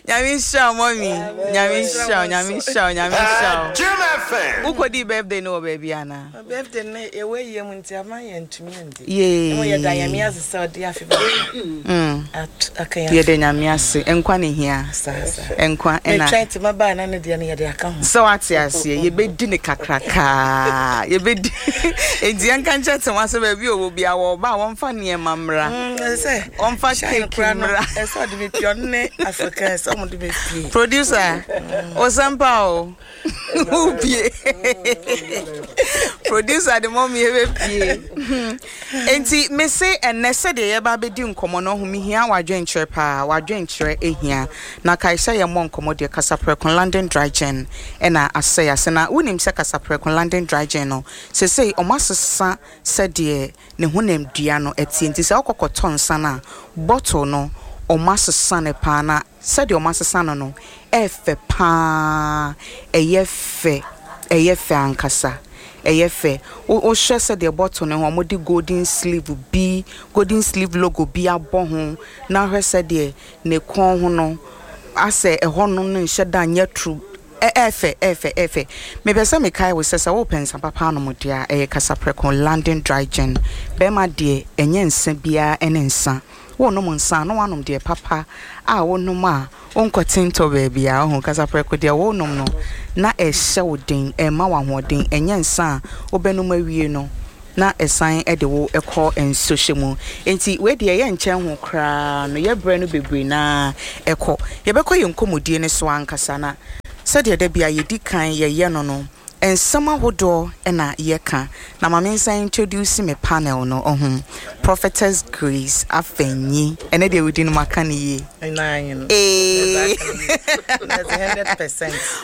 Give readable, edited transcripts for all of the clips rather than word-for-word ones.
Nyame nhyira wo mummy. Nyame nhyira wo, Nyame nhyira wo, Nyame nhyira wo. Wokɔdii birthday no wɔ baabi anaa? My birthday no yɛwɔ ayie mu nti ama yɛntumi andi. Yay. Mmom yɛda Nyame ase sɛ ɔde afe baako aka yɛn. Yɛda Nyame ase. Nkwa na ehia. Saa saa. Nkwa ɛna. Metwɛn te maba a na ne deɛ no yɛde aka ho. Sɛ wate aseɛ, yɛbɛdi no kakrakaa. Yɛbɛdi. Enti yɛnka nkyerɛ Tema sɛ baabi a ɔwɔ biara wɔba a wɔmfa nneɛma mmra. Ɛsɛ Wɔmfa Shine cake koraa no, mmra. ɛsɛ ɔde me pie, ɔno ne Africans, ɔmo de me pie. Producer, Osampa o. Wopie. Producer de mɔmi ebepie. Enti mese ɛnɛ sɛdeɛ yɛba abɛdi nkɔmmɔ no, ɔho mehia w'adwenkyerɛ paa, w'adwenkyerɛ ehia. Na kae sɛ yɛmmɔ nkɔmmɔ deɛ Kasaprɛko London Dry Gin ɛna asɛe ase. Na wonim sɛ Kasaprɛko London Dry Gin no, sesei ɔmo asesa sɛdeɛ ne honamdua no teɛ. Nti sɛ wokɔ kɔtɔ nsa no a, bottle no ɔmo asesa no paa na Sɛdeɛ wɔasesa no no, ɛyɛ fɛ pa ara, ɛyɛ fɛ, ɛyɛ fɛ ankasa, ɛyɛ fɛ. Wo, wohwɛ sɛdeɛ bottle no ho, wɔde golden sleeve bi, golden sleeve logo bi abɔ ho, na hwɛ sɛdeɛ ne kɔn ho no, asɛ ɛhɔ nom no nhyɛ da nyɛ toro, ɛ, ɛyɛ fɛ, ɛyɛ fɛ, ɛyɛ fɛ. Mepɛ sɛ mekae wo sɛ, sɛ worepɛ nsa papa anom deɛ a, ɛyɛ Kasaprɛko London Dry Gin. Barima deɛ, ɛnyɛ nsa biara ne nsa. Worenom nsa a, na woanom deɛ papa a wonom a wonkɔte ntɔ baabiara. Wohu, kasaprɛko deɛ wonom no, na ɛhyɛ wo den, ɛma wo ahoɔden. Ɛnyɛ nsa a wobɛnom awie no, na ɛsan de wo kɔ nsuhyɛ mu. Enti wei deɛ yɛnkyɛn ho koraa no, yɛn berɛ no bebree no ara kɔ. Yɛbɛkɔ yɛn nkɔmmɔdie no so ankasa, na sɛdeɛ da biara yɛdi kan yɛyɛ no no, Nsɛm ahodoɔ na yɛka na ma mensan introduce me panel no oho Prophetess Grace Afenyi ɛnɛ deɛ wo din no maka no yie Eeii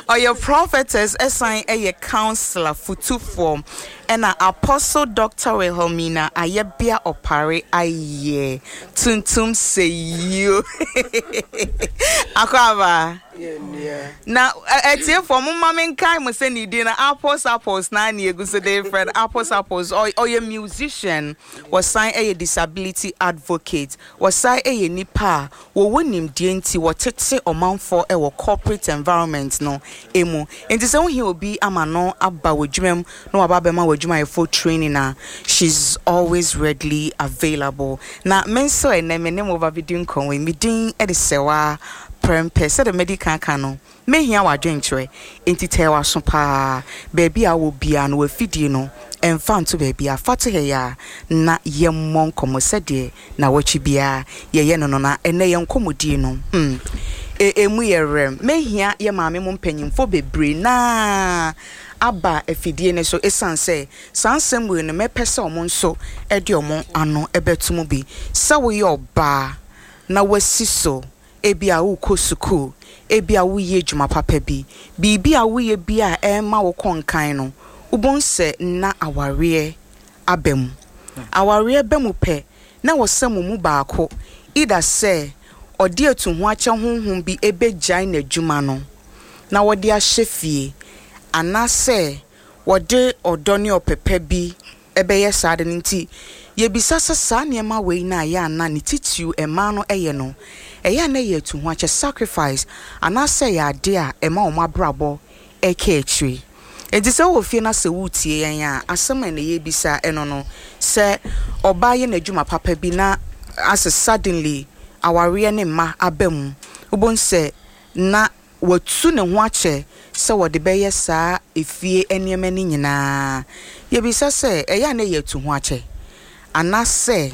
Ɔyɛ prophetess ɛsan ɛyɛ councilor futufoɔ ɛna Apostle Doctor Wilhelmina Ayɛbea Opare ayɛ tuntum sɛ yio Akwaaba. Na atiefoɔ momma menkae mo sɛ ne din no Apples Apples na ne yɛgu so de frɛ no Apples Apples. Ɔyɛ musician, wɔsan yɛ disability advocate, wɔsan yɛ nipa a wɔwɔ nimdeɛ nti wɔtete ɔmanfoɔ wɔ corporate environment no mu. Nti sɛ wohia obi ama no aba w'adwuma mu na waba abɛma w'adwumayɛfoɔ training a, she's always readily available. Na me nso ɛnnɛ me ne mo ba bɛdi nkɔmmɔ yi, me din de Sewaa Prɛmpɛ. Sɛdeɛ madi kan aka no, mɛhia w'adwenkyerɛ, enti tɛɛ w'aso pa ara. Baabi a wowɔ biara no, w'afidie no, mfa nto baabiara, fa to ha yi ara na yɛmmɔ nkɔmmɔ sɛdeɛ nnawɔtwe biara yɛyɛ no no. Na ɛnnɛ yɛn nkɔmmɔdie no, hmm, ɛmu yɛ werɛm. Mɛhia yɛn maame mo mpanimfoɔ bebree no ara aba afidie no so ɛsiane sɛ saa nsɛm wei no mɛpɛ sɛ wɔn nso de wɔn ano bɛto mu bi. Sɛ woyɛ ɔbaa na woasi so, ebia worekɔ sukuu, ebia woreyɛ adwuma papa bi, biribi a woreyɛ biara a ɛrema wokɔ nkan no, wobɛhu sɛ na awareɛ aba mu. Awareɛ ba mu pɛ, na ɛwɔ sɛ mo mu baako, either sɛ ɔde atuhoakyɛ honhom bi bɛgyae n'adwuma no na wɔde ahyɛ fie, anaasɛ wɔde ɔdɔ ne ɔpɛ pa bi bɛyɛ saa ade no nti, yɛbisa sɛ saa nneɛma wei no a ɛyɛ a na ne titiriw mmaa no yɛ no, ɛyɛ a na ɛyɛ atuhoakyɛ, sacrifice, anaasɛ ɛyɛ ade a ɛma wɔn abrabɔ ka akyire. Enti sɛ wowɔ fie na sɛ woretie yɛn a, asɛm a ɛnnɛ yɛrebisa ɛno no, sɛ ɔbaa yɛ n'adwuma papa bi na asɛ suddenly awareɛ ne mma aba mu, wobɛhu sɛ na watu ne ho akyɛ sɛ wɔde bɛyɛ saa efie nneɛma no nyinaa. Yɛbisa sɛ, ɛyɛ a na ɛyɛ atuhoakyɛ? Anaasɛ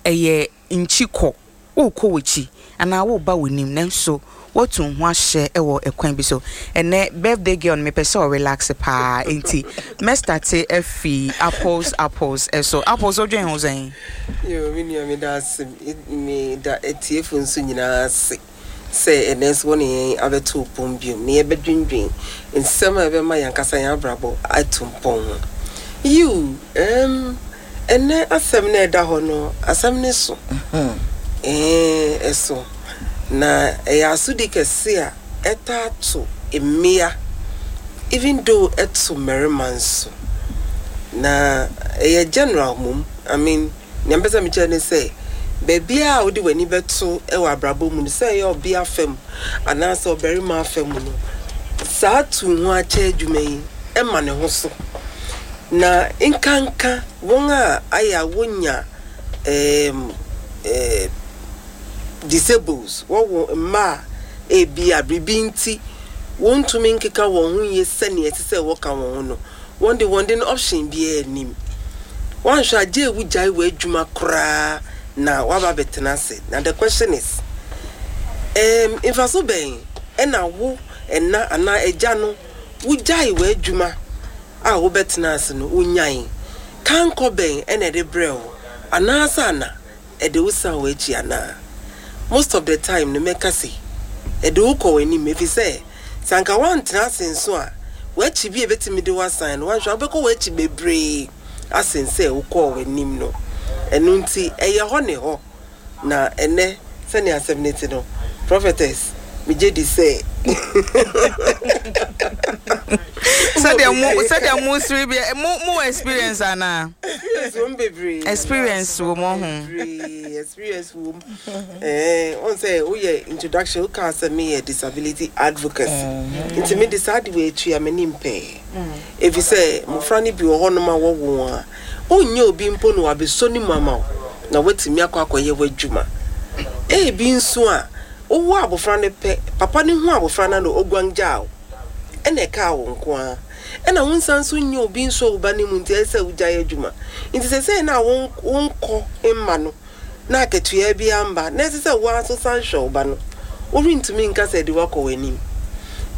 ɛyɛ nkyi kɔ, worekɔ w'akyi anaa woreba w'anim nanso woatu wo ho ahyɛ wɔ ɛkwan bi so? Ɛnnɛ birthday girl no mepɛ sɛ ɔrelaxe paa enti mɛstate afi apples apples so. Apples wodwen ho sɛn? Yoo me nua meda ase, meda atiefo nso nyinaa ase. sɛ ɛnnɛ nso wɔne yɛn abɛto pon bio na yɛbɛdwendwen nsɛm a ɛbɛma yɛn ankasa yɛn abrabɔ atu mpɔn ho. Yiw, ɛɛm, ɛnnɛ asɛm no a ɛda hɔ no, asɛm no so. Ɛɛ, ɛso. Na ɛyɛ asodi kɛse a ɛtaa to mmea, even though ɛto mmarima nso. Na ɛyɛ general mmom, I mean, Nea mepɛ sɛ mekyerɛ ne sɛ, Baabiara a wode w'ani bɛto wɔ abrabɔ mu no, sɛ ɛyɛ ɔbea fam anaasɛ ɔbarima fam no, saa tu ho akyɛ adwuma yi ma ne ho so. Na nkanka wɔn a ayɛ a wonya ɛɛm ɛɛ disables, wɔwo mma a ebia biribi nti wontumi nkeka wɔn ho yie sɛnea ɛsɛ sɛ wɔka wɔn ho no, wɔn de wɔn de no option biara nnim. Woanhwɛ a gye wogyae w'adwuma koraa na woaba abɛtena ase. Na the question is, ɛɛm mfaso bɛn na wo ɛna anaa agya no wogyae w'adwuma a wobɛtena ase no wonyae? Kankɔ bɛn na ɛde brɛɛ wo anaasɛ ana ɛde wo san w'akyi anaa? Most of the time no mɛka se ɛde wo kɔ w'anim efisɛ sɛ anka woantena ase nso a w'akyi bi a ebetumi de wo asan no woanhwɛ a wobɛkɔ w'akyi bebree asen sɛ wokɔɔ w'anim no. Ɛno nti ɛyɛ hɔ ne hɔ. Na ɛnnɛ sɛnea asɛm no te no, prophetess, megye di sɛ. Sɛdeɛ mo sɛdeɛ mo siri bi mo mo wɔ experience anaa? Experience wɔ mu bebree. Experience wɔ mu ho. Bebree experience wɔ mu. Ɛɛ wɔn sɛ woyɛ introduction wokaa sɛ meyɛ disability advocacy nti me de saa de wɔ atua m'anim pɛɛ. Efisɛ mmofra no bi wɔ hɔnom a wɔwo wɔn a, wonnyɛ obi mpo na wabɛsɔ ne mu ama wo na woatumi akɔ akɔyɛ w'adwuma. Ebi nso a, wowoo abofra no pɛ, papa no hu abofra no a na oguan gyaa wo, ɛnna ɛkaa wo nko ara. Ɛnna wonsan nso nnya obi nsɔ wo ba no mu nti ɛsɛ sɛ wugyae adwuma. Nti seesei no a wonkɔ mma no na akatua biara mma, na ɛsɛ sɛ wo ara nso san hwɛ wo ba no, worentumi nka sɛ ɛde wo akɔ w'anim.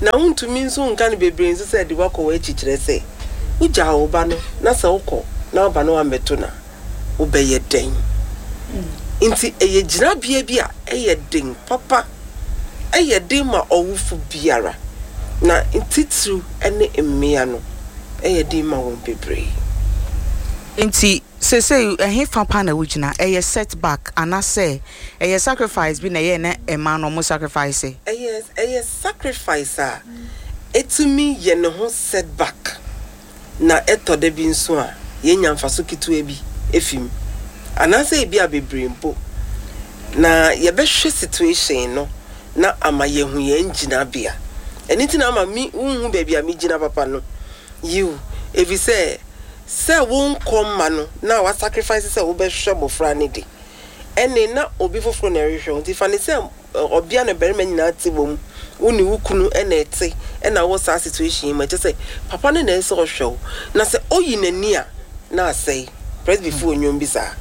Na wontumi nso nka no bebree nso sɛ ɛde wo akɔ w'akyi, kyerɛ sɛ, wugyaw wo ba no na sɛ wokɔ na wo ba no ammɛto no a, wobɛyɛ dɛn? Nti ɛyɛ gyinabea bi a ɛyɛ den papa. Ɛyɛ den ma ɔwofo biara, na titiriw ne mmea no, ɛyɛ den ma wɔn bebree. Enti seesei ɛhefa paa na wugyina? Ɛyɛ setback anasɛ ɛyɛ sacrifice bi na ɛyɛɛ na ɛmaa no ɔmo sacrifice? Ɛyɛ ɛyɛ sacrifice a etumi yɛ ne ho setback na ɛtɔ da bi nso a yenya mfaso ketewa bi fi mu anaasɛ ebia bebree mpo. Na yɛbɛhwɛ situation no na ama yɛahu yɛn gyinabea. Ɛno nti na ama me wonhu baabi a migyina papa no. Yiw, efisɛ sɛ wonkɔ mma no na woasacrifice sɛ wobɛhwɛ mmofra no de, ɛnne na obi foforo na ɛrehwɛ wo. Nti fa no sɛ ɔbea ne barima nyinaa te wom, wo ne wo kunu na ɛte na wowɔ saa situation yi mu a, ɛkyerɛ sɛ papa no na ɛsɛ sɛ ɔhwɛ wo. Na sɛ oyi n'ani a, na asɛe. Presbyfo wɔ nnwom bi saa.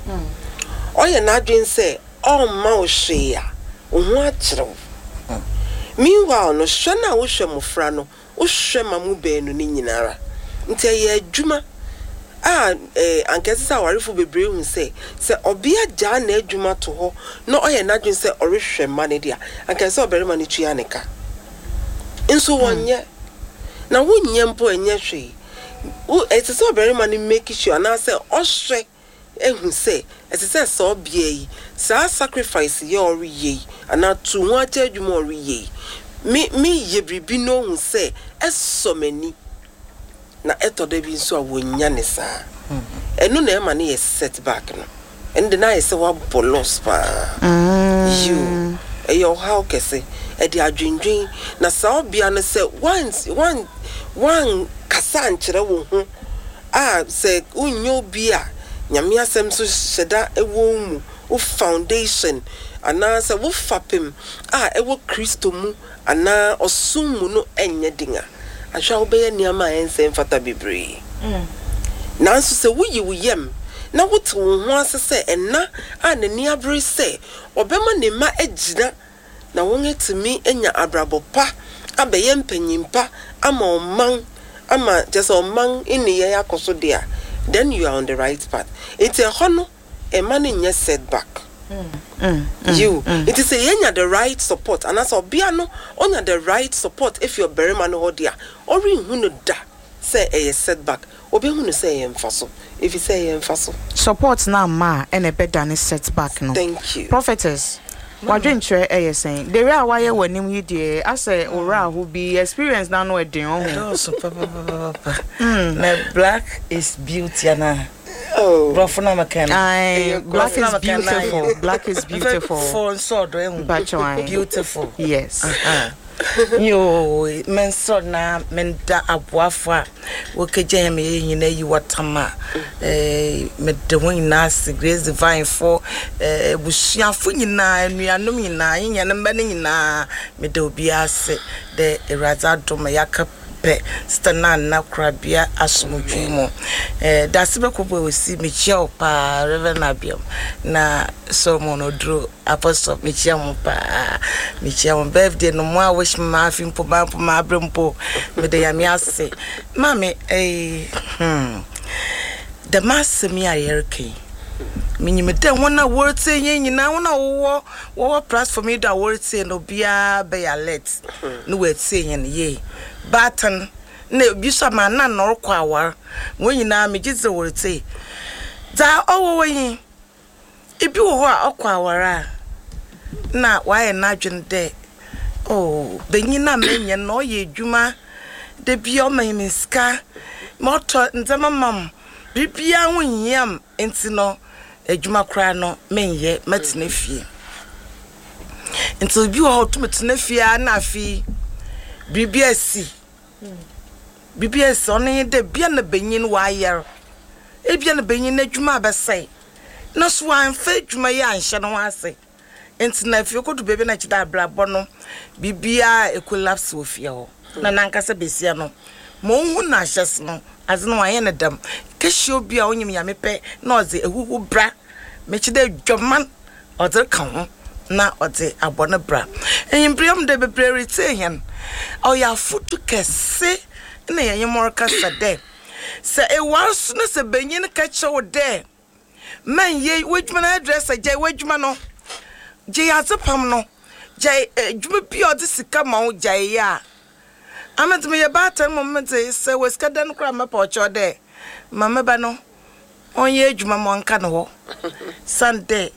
Ɔyɛ n'adwene sɛ ɔremma wo hwee a, wo ho akyere wo. Meanwhile no, hwɛ no a wohwɛ mmofra no, Wohwɛ ma mo baanu no nyinara. Nti ɛyɛ adwuma a anka ɛsɛ sɛ awarefo bebree hu sɛ, sɛ ɔbea gyaa n'adwuma to hɔ na ɔyɛ n'adwene sɛ ɔrehwɛ mma no de a, anka ɛsɛ sɛ ɔbarima no tua ne ka. Nso wɔnyɛ. Na wonyɛ mpo a ɛnyɛ hwee. Wo, ɛsɛ sɛ ɔbarima no make sure anaasɛ ɔhwɛ ahu sɛ ɛsɛ sɛ saa ɔbea yi, saa sacrifice yi a ɔreyɛ yi, anaa tu ho akyɛ adwuma a ɔreyɛ yi, me meyɛ biribi na ohu sɛ ɛsɔ m'ani. Na ɛtɔ da bi nso a wonnya no saa. Ɛno na ɛma no yɛ setback no. Ɛno de na ayɛ sɛ woabɔ loss paa. Yiw, ɛyɛ ɔhaw kɛse. Ɛde adwennwen. Na saa ɔbea no sɛ woan woan woankasa ankyerɛ wo ho a sɛ wonnyɛ obi a Nyame asɛm so hyɛda wɔ wo mu, wo foundation anaa sɛ wo fapem a ɛwɔ Kristo mu anaa ɔsom mu no nyɛ den a, ahwɛ a wobɛyɛ nneɛma a ɛnsɛ mfata bebree. Nanso sɛ woyi wo yam na wote wo ho ase sɛ ɛna a n'ani abere sɛ ɔbɛma ne mma agyina na wɔatumi anya abrabɔ pa abɛyɛ mpanyin pa ama ɔman ama kyerɛ sɛ ɔman nneyɛe akɔ so de a, then you are on the right path. Nti ɛhɔ no mma no nyɛ setback. Yiw, nti sɛ yɛnya the right support anaasɛ ɔbea no ɔnya the right support efi ɔbarima no hɔ de a, ɔrenhu no da sɛ ɛyɛ setback, obehu no sɛ ɛyɛ mfaso, efisɛ ɛyɛ mfaso. Support no amma a ɛna ɛbɛdane setback no. Thank you. Prophetess, w'adwenkyerɛ ɛyɛ sɛn? The way a wayɛ w'anim yi deɛ asɛ wo werɛ aho bi, experience no ano ɛden ɔho. Ɛdɔɔso papapapapa. Na black is beauty anaa? Brɔfo na meka no. Aye, black is beautiful. Black is beautiful. For nsɔ do ehu. Mpacho aye. Beautiful. Yes. Yo, mensɔ na menda aboafo a wɔkɛgya yɛn yɛ nyina yi wɔtam a eh, mede ho nyinaa ase Grace Divine fo eh, abusuafo nyinaa anuanom nyinaa yɛn mma no nyinaa meda obiara ase dɛ Awurade adom yɛaka pɛ Sister Nana Korabea asomdwee mu. Eh, dase bɛkɔ bɔ osi, mekyia wo paa, Reverend Abiam, na Solomon Oduro, Apostle, mekyia mo paa, mekyia mo. Birthday no, mo a wish me ma afi mpo, ma mpo, ma abre mpo, mede Nyame ase. Maame, eh, dɛm asɛm yi a yɛreka yi, minyim dɛ hɔn a wɔretsie hɛn nyinaa, hɔn a wɔwɔ wɔwɔ platform yi do a wɔretsie no, obiara bɛyɛ alert na oetsie hɛn yie. Baatan na bi so a ma nna na ɔrokɔ awar, hɔn nyinaa megye dzi dɛ wɔretsie. Dza ɔwɔ hɔ nye, bi wɔ hɔ a ɔkɔ awar a, nna ɔayɛ n'adwen dɛ, oh, banyin a menya no ɔyɛ edwuma, da biara ɔma me sika, ma ɔtɔ ndzɛmba ma me, biribiara ho nnhia me ntsi no, edwuma koraa no mennyɛ, mɛtsena fie. Ntsi obi wɔ hɔ a otum tsena fie ara na afei biribi esi, biribi esi, ɔno nye dɛ bia na banyin ɔayar, ebia na banyin n'edwuma abɛsɛe, na so ɔammfa edwuma yi annhyɛ no ho ase. Ntsi na afei okodu beebi na kyerɛ dɛ abrabɔ no biribiara ecollapse wɔ fie hɔ. Na nankasa basia no, ma ohun no ahyɛse no, adze no ɔannyɛ no dɛm. Kehyia obi a onyim Nyame pɛ na ɔdze ehuhu bra, mekyerɛ dɛ edwaman ɔdze reka ho na ɔdze abɔ no bra. Enyimber yi dɛ beberee retsie hɛn, ɔyɛ afotu kɛse na yɛnye mo rekasa dɛ, sɛ ewar so na sɛ banyin ka kyerɛ wo dɛ mɛnyɛ w'edwuma no hairdresser, gyae w'edwuma no, gyae adzepam no, gyae edwuma bi a ɔdze sika ma wo gyae yɛ a, ame dze meyɛ baatan mbom medze sɛ wɔ sika dan koraa a mɛpa wo kyɛw dɛ ma me ba no ɔnyɛ edwuma ma ɔnka no hɔ osiandɛ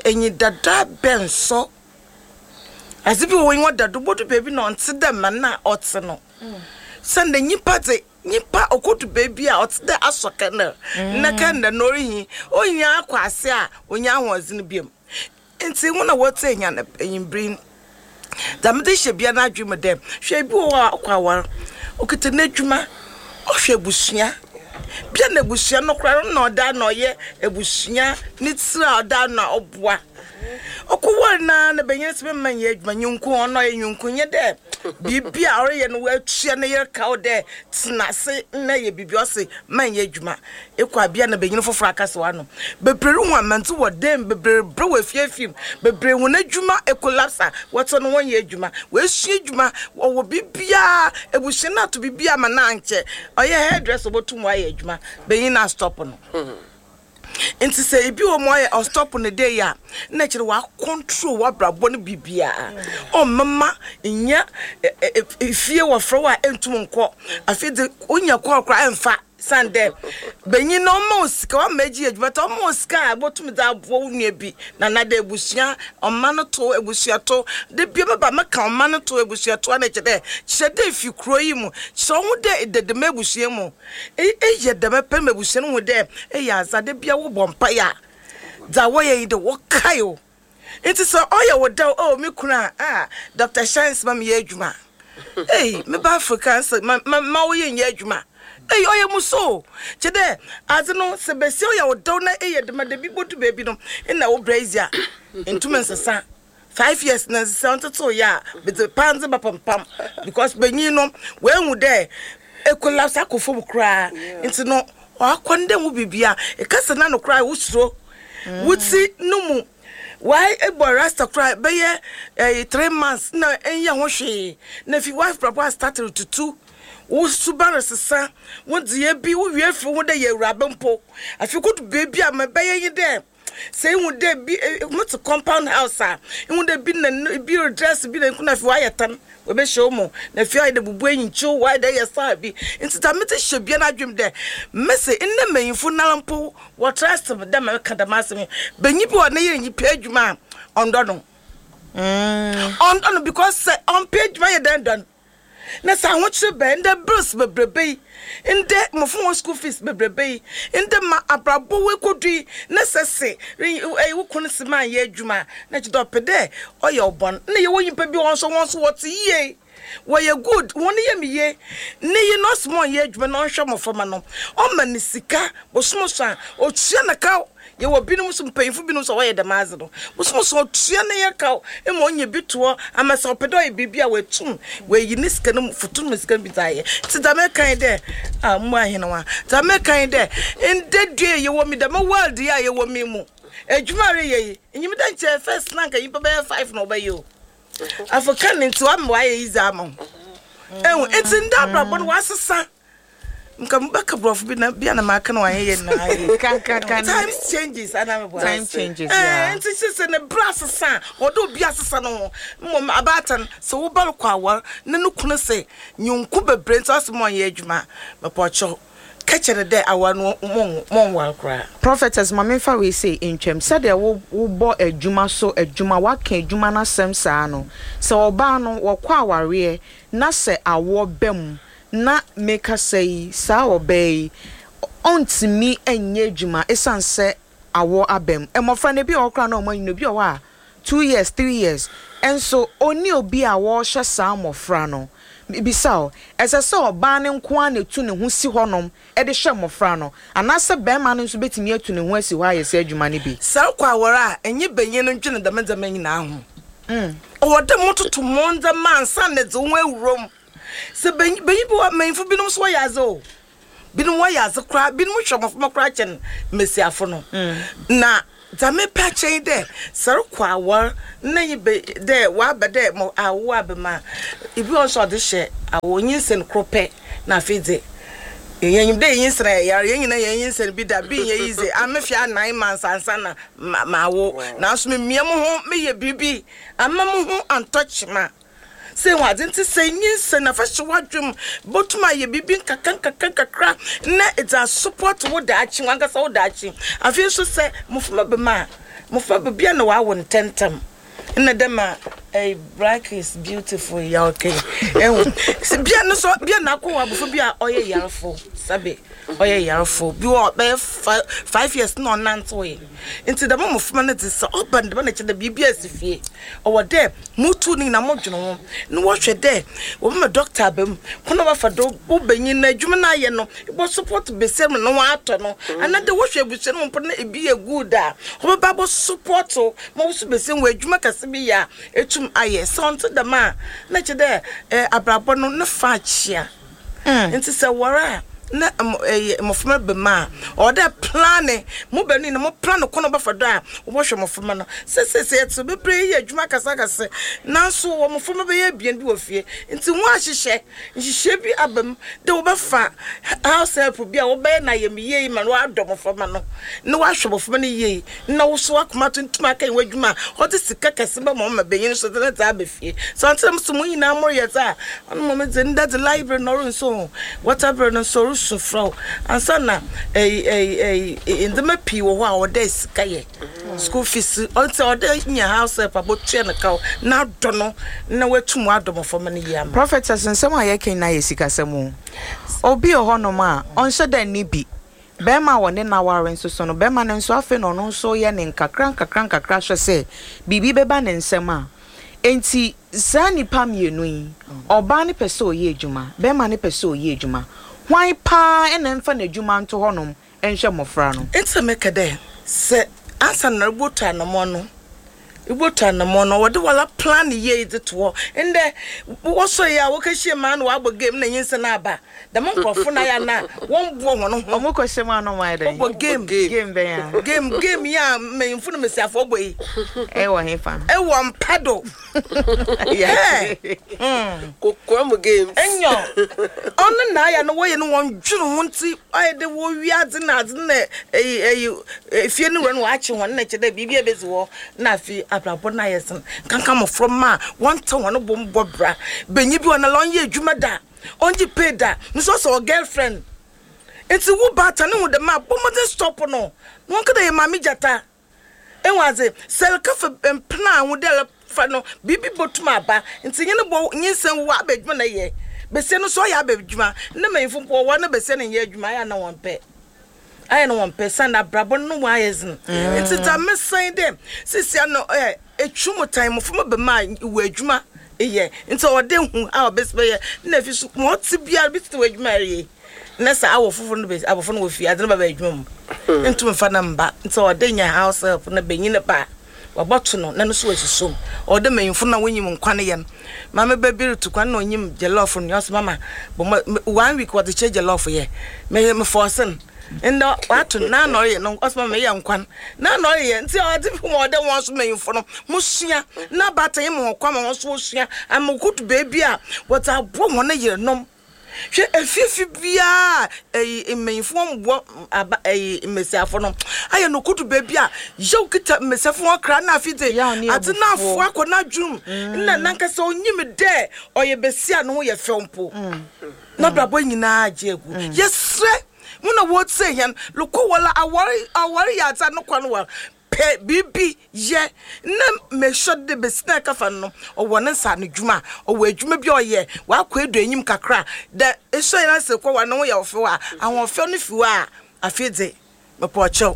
enyidado abɛn sɔ. Adze bi wɔ hɔ enyiwa da do bodu beebi na ɔnntse dɛ ma nna ɔtse no osiandɛ nyimpa dze Nyimpa okodu beebi a ɔtse dɛ asɔ kɛndɛl na kɛndɛl no orihi, ohia akɔ ase a onnya ahoɔdzen bio. Ntsi hɔn a wɔtse hɛn ewimbir yi, dza medze hyɛ bia n'adwen mu dɛ, hwɛ bi wɔ hɔ a ɔkɔ awar, okitsa n'edwuma, ɔhwɛ ebusua, bia na ebusua no koraa no nna ɔda ano ɔyɛ ebusua ne tsir a ɔda ano a ɔboa. Ɔkɔwar no ara na banyin no se mma nnyɛ edwuma, nyɛnko ɔno ɔyɛ nyɛnko nnyɛ dɛ biribi a ɔreyɛ no oetua ne yer kaw dɛ tsena ase na yɛ biribi ɔse mma nnyɛ edwuma. Ekɔ a bia na banyin fofor akasa w'ano. Beberee ruhu amandze wɔ dan mu, beberee rebrɛ wɔ efiefi mu, beberee hɔn edwuma ekolapse a wɔtse no wɔnnyɛ edwuma. Woesua edwuma, wɔwɔ biribiara, ebusua no ato biribiara ama no annkyɛ ɔyɛ hairdresser obotum ɔayɛ edwuma, banyin no astop no. Ntsi sɛ bi wɔ mu ɔyɛ ɔstop no dɛ yi a, nna kyerɛ ɔacontrol w'abrabɔ no biribiara. Ɔmmema nnya fie wɔfrɛ wo a enntum nnkɔ. Afei dze onya call koraa emmfa osiandɛ banyin no ɔmma wo sika, ɔama egye edwuma ntsi ɔmma wo sika a ebotum dze aboa wo nua bi na anaa ebusua, ɔma no to ebusua to. Da biara meba meka ɔma no to ebusua to a nna kyerɛ dɛ kyerɛ dɛ ifi kurow yi mu, kyerɛ woho dɛ eda dɛm ebusua yi mu. Eyɛ dɛm pɛ ma ebusua no hu dɛ eyɛ adze a da biara wɔbɔ mpae a, dza wɔyɛ nye dɛ wɔkae wo. Ntsi sɛ ɔyɛ wo dɛw, oh me kun a, ah Doctor Shines ma meyɛ edwuma. Ei, meba Africa nse ma ma ma wo yer nnyɛ edwuma. Ei, ɔyɛ musu o. Kyerɛ dɛ adze no sɛ basia ɔyɛ wo dɛw na eyɛ dɛm a, da bi bodu beebi no nna wo bra edzi a, nntum nsesa. 5 years na nsesa ɔntsetse yɛ a medze pandze bɛpempam because banyin no oehu dɛ ecollapse akɔ famu koraa ntsi no ɔakɔ no dɛ ho biribia ekasa n'ano koraa wosuro wo tsi no mu wae ebɔ rasta koraa bɛyɛ 3 months na ɛnyɛ ho hwee na fi wife brabɔ astart retutu wo suban resesa wo ndzeyɛɛ bi wo wie fi wo ho dɛ yɛ awuraba mpo afei kodu beebi a ma ɛbɛyɛ nye dɛ sɛ ihu dɛ bi motse compound house a, ihu dɛ bi na bi redress bi na nko na afei ɔayɛ tan, oebehyɛ wo mu, na afei ɔayɛ dɛ bubu enyikyew, ɔayɛ dɛ eyɛ style bi. Ntsi dza medze hyɛ bia n'adwen mu dɛ, mese ndɛ mbanyimfo noara mpo wɔ trust me dɛ mereka dɛm asɛm yi. Banyin bi wɔ hɔ ne yer nnyɛ edwuma a, ɔnndɔ no. Ɔnndɔ no because sɛ ɔmmpɛ edwuma yɛ dɛn dɔ no? Na sɛ ahokyere bɛn, ndɛ bills bebrebe yi, ndɛ mmofra hɔn school fees bebrebe yi, ndɛ ma abrabɔ woekodu yi, na sɛ se ɛyi wo kun se mannyɛ edwuma a, na kyerɛ dɛ ɔpɛ dɛ ɔyɛ wo bɔn. Nna yɛwɔ nyimpa bi wɔ hɔ so hɔn so wɔtse yie, wɔyɛ good, hɔn yamu ye. Ne yer no ɔse ma ɔnyɛ edwuma na ɔnhwɛ mboframba no, ɔma no sika bosoom so a, otua no kaw. Yɛwɔ binom so, mpanyimfo binom so a wɔyɛ dɛm adze no. Bosoom so otua ne yer kaw ma onya bi to hɔ ama sɛ ɔpɛ dɛ ɔyɛ biribi a oetum oeyi ne sika no mu, foto no mu sika no bi dze ayɛ. Ntsi dza mereka nye dɛ, ah mbowa hen wa, dza mereka nye dɛ, ndɛ dua yi yɛwɔ mu yi, dɛm world yi a yɛwɔ mu yi mu, edwuma a ereyɛ yi, inyim dɛ nkyɛ first na nka nyimpa bɛyɛ five na wɔbɛyɛ o. Afɔka no ntsi ɔama ɔayɛ easy ama wo. Ehu, ntsi ndɛ abrabɔ no ɔasesa. Nka mobɛka borɔfo bi na bia na maka no wanyɛ yɛ nyinaa yɛ. Ka ka ka. Time changes ana meboa. Time changes eh, yeah. Nti sɛ sɛ ne bra sesa a ɔde obi asesa no ho. Mmom abaatan sɛ wo ba rekɔ awar na ne kunu se nyonko bebree nti ɔse mɔnyɛ adwuma a mepɔkyɛw ka kyerɛ no dɛ awar no monwar koraa. Prophetess ma memfa wei sei ntwam, sɛdeɛ wo wobɔ adwuma so adwuma woaka adwuma no asɛm saa no, sɛ ɔbaa no wɔkɔ awareɛ na sɛ awoɔ ba mu na mekasa yi, saa ɔbaa yi, ɔntumi nyɛ adwuma ɛsiane sɛ awoɔ aba mu. Mmɔfra no, ebi wɔ hɔ koraa na wɔanyini, obi wɔ hɔ a, 2 years, 3 years, nso ɔnni obi a wɔrehwɛ saa mmɔfra no. Mebisa wo, ɛsɛ sɛ ɔbaa no nko ara na ɛtu ne ho si hɔnom de hwɛ mmɔfra no, anaasɛ barima no nso bɛtumi atu ne ho asi hɔ ayɛ saa adwuma no bi? Sɛ rokɔ awar a, enye banyin no ndwen dɛm ndzɛmba nyina ho. Ɔwɔ dɛ mototo mo ndzɛmba ansaana edze woho ewura mu. Sɛ banyin banyin bi wɔ hɔ a, mbanyimfo binom so wɔyɛ adze o. Binom wɔyɛ adze koraa, binom hwɛ mboframba koraa kyɛn mbasiafo no. Na dza mepɛ akyerɛ nye dɛ, sɛ rokɔ awar na nye ba dɛ wɔaba dɛ mo awo aba mu a, bi wɔ hɔ so a ɔdze hyɛ awo nyinsen kor pɛ na afei dze yenyim dɛ nyinsen yɛ yar, hɛn nyina yɛnyinsɛn bi da, bi nnyɛ easy. A mefea 9 months ansaana mawo, naaso memia moho meyɛ biribi amma moho anntɔ kyema. Sɛ ehu adze ntsi, sɛ nyinsɛn na fa hyɛ w'adwen mu, botum ayɛ biribi nkakrankakra na edze asopɔt wo daakye, wankasa wo daakye. Afei so sɛ mboframba ba mu a, mboframba ba bi a nna wɔawo ntsɛntsɛm. Nna dɛ ma black is beautiful yi a ɔka yi, ehu. Sɛ bi a no so, bi a na akɔwo abofra bi a ɔyɛ yarfo, sɛbe ɔyɛ yarfo, bi wɔ hɔ ɔbɛyɛ 5 years na ɔnnantsewee. Ntsi dɛm mboframba no dze, sɛ ɔba no dɛm a nna kyerɛ dɛ biribi esi fie. Ɔwɔ dɛ mutu ne nyina modwen ho na wɔhwɛ dɛ wɔbɛma dɔkta aba mu, kwan a wɔbɛfa do wo banyin no edwuma no ayɛ no, ebɔ support basia ma no ho atɔ no, anaadɛ wɔhwɛ ebusua no mu mpo na bi yɛ good a, wɔbɛba abɔ support wo ma wo so basia wɔ edwuma kɛse bi yɛ a etum ayɛ. Sɛ ɔnntse dɛm a, nna kyerɛ dɛ abrabɔ no ne fa akyea. Ntsi sɛ ewar a na ɛyɛ mboframba ba mu a, ɔwɔ dɛ plane, mo beenu nyina mo plane kwan a wɔbɛfa do a wɔbɔhwɛ mboframba no. Sesei sɛ yɛtse beberee yɛ edwuma akɛse akɛse naaso wɔwɔ mboframba bɛyɛ ebien bi wɔ fie ntsi wɔahyehyɛ nhyehyɛɛ bi aba mu dɛ wɔbɛfa house help bi a wɔbɛyɛ no ayamuyie ma no ɔadɔ mboframba no na ɔahwɛ mboframba no yie na wo so w'akoma atontom akɛyɛ w'adwuma a ɔdze sika kɛse bɛma wo ma banyin so dze ne dze aba fie. Sɛ ɔnntse dɛm so mo nyinaa moreyɛ dze a, ɔno mbom dze ndɛ dze light bill no ɔronnsɔ o, water bill no so orusu frɛ wo ansaana ɛyi ɛyi ɛyi ndzɛmba pii wɔ hɔ a ɔwɔ dɛ sika yɛ. School fees ɔntsi ɔwɔ dɛ inya house help a botua no kaw na adɔ no na oetum ɔadɔ mboframba no yie ama wo. Prophetess, nsɛm a yɛka nyinaa yɛ sikasɛm o. Obi wɔ hɔnom a, ɔnhyɛ da nni bi. Barima a wɔne no aware nso so no, barima no nso afei na ɔno nso reyɛ ne nkakra nkakra nkakra hwɛ sɛ biribi bɛba ne nsam a. Enti saa nnipa mmienu yi, ɔbaa no pɛ sɛ ɔyɛ adwuma, barima no pɛ sɛ ɔyɛ adwuma. Hwan pa ara na ɛmfa n'adwuma nto hɔnom nhwɛ mmɔfra no? Ntsi na meka dɛ, sɛ ansaana erobotu anamɔn no, ibotu anamɔn no, ɔwɔ dɛ woara plan yie dze to hɔ. Ndɛ, wɔsɔr yi a wɔkɛhyia mu a na wɔabɔ game na nyinsɛn aba. Dɛm nkorɔfo no ayɛ a na wɔmmboa hɔn ho. Wɔkɔ hyɛ mu a na wɔayɛ dɛn? Wɔbɔ game. Game bɛn a? Game game yi a mbanyimfo na mbasiafo bɔ yi. Ɛwɔ hefa? Ɛwɔ mpa do. Yɛ. Kokoa mu games. Enyɔ. Ɔno na ayɛ no wɔyɛ no wɔndwen ho ntsi ɔyɛ dɛ wɔwia adze na adze na ɛyi ɛyi efie no wura no wɔakye hɔn na kyerɛ dɛ biribi a ebedzi hɔ na afei abrabɔ no ayɛ dzen. Nkanka mboframba a wɔnntse hɔn bo mmbɔ bra. Banyin bi wɔ hɔ no ɔnnyɛ edwuma da. Ɔnngye pay da nso ɔsɛ ɔwɔ girlfriend ntsi wo baatan no hu dɛm a bɔ mbɔdzen stop no na wɔnka dɛ yɛ maame gyata ehu adze sɛ ereka fa mpena a hu dɛ erefa no biribi botum aba ntsi nye no bɔ nyinsɛn wo aba edwuma na eyɛ. Besia no so ɔyɛ aba edwuma. Ndɛ mbanyimfo mpo wɔwar na besia no nnyɛ edwuma ayɛ a nna wɔmmpɛ. Ayɛ na wɔmmpɛ osiandɛ abrabɔ no no mu ayɛ dzen. Ntsi dza mesa nye dɛ sesei no ɛ etwu mu tan mboframba ba mu a ewɔ edwuma eyɛ ntsi ɔwɔ dɛ ehu a obesi bɛyɛ. Nna efi so ma ɔtse biara bi tse w'edwuma a ereyɛ yi na sɛ awɔ fofor no besi abofra no wɔ fie adze no bɛba edwuma mu nntum mmfa no mmba ntsi ɔwɔ dɛ enya house help na banyin ba a Wɔbɔto no na no so oesusu mu. Ɔwɔ dɛ mbanyimfo no a wonyim nkwan yɛ no, maame ba bi rutu kwan nna onyim jollof noa, ɔse mama bɔ mbɔ me one week wɔdze kyerɛ jollof yɛ, me mefɔɔse no, ndɛ ɔato no na ɔreyɛ no, ɔse mama meyɛ nkwan na na ɔreyɛ, ntsi ɔadze bi ma ɔwɔ dɛ hɔn so mbanyimfo no mosua na abaatan yi ma hɔn kwan ma hɔn so wosua ama wokodu beebi a wɔdze aboa hɔn yernom. Hwɛ efiefi biara a ɛyi mmanyinfo wɔn boa aba ɛyi mmesiafo no ayɛ no kodu baabi a yaw kita mmesiafo wɔn kra na afi dze adze no afo akɔ n'adwene mu na nankasa onyim dɛ ɔyɛ besia no ho yɛ fɛw mpo n'abrabɔ nyinaa agye agu yɛsrɛ mo na wɔtsie hɛn lokɔ wɔla awar awar yɛ adze a no kwan war Pɛ biribi yɛ na make sure dɛ besi na ɛkafa no no ɔwɔ ne nsa ano dwuma, ɔwɔ edwuma bi a ɔyɛ, ɔakɔ edu enyim kakra dɛ esɔ hɛn ase kɔ war no ho yɛ wo fɛw a, ahoɔfɛw no fi hɔ a afei dze mepɛ ɔkyɛw,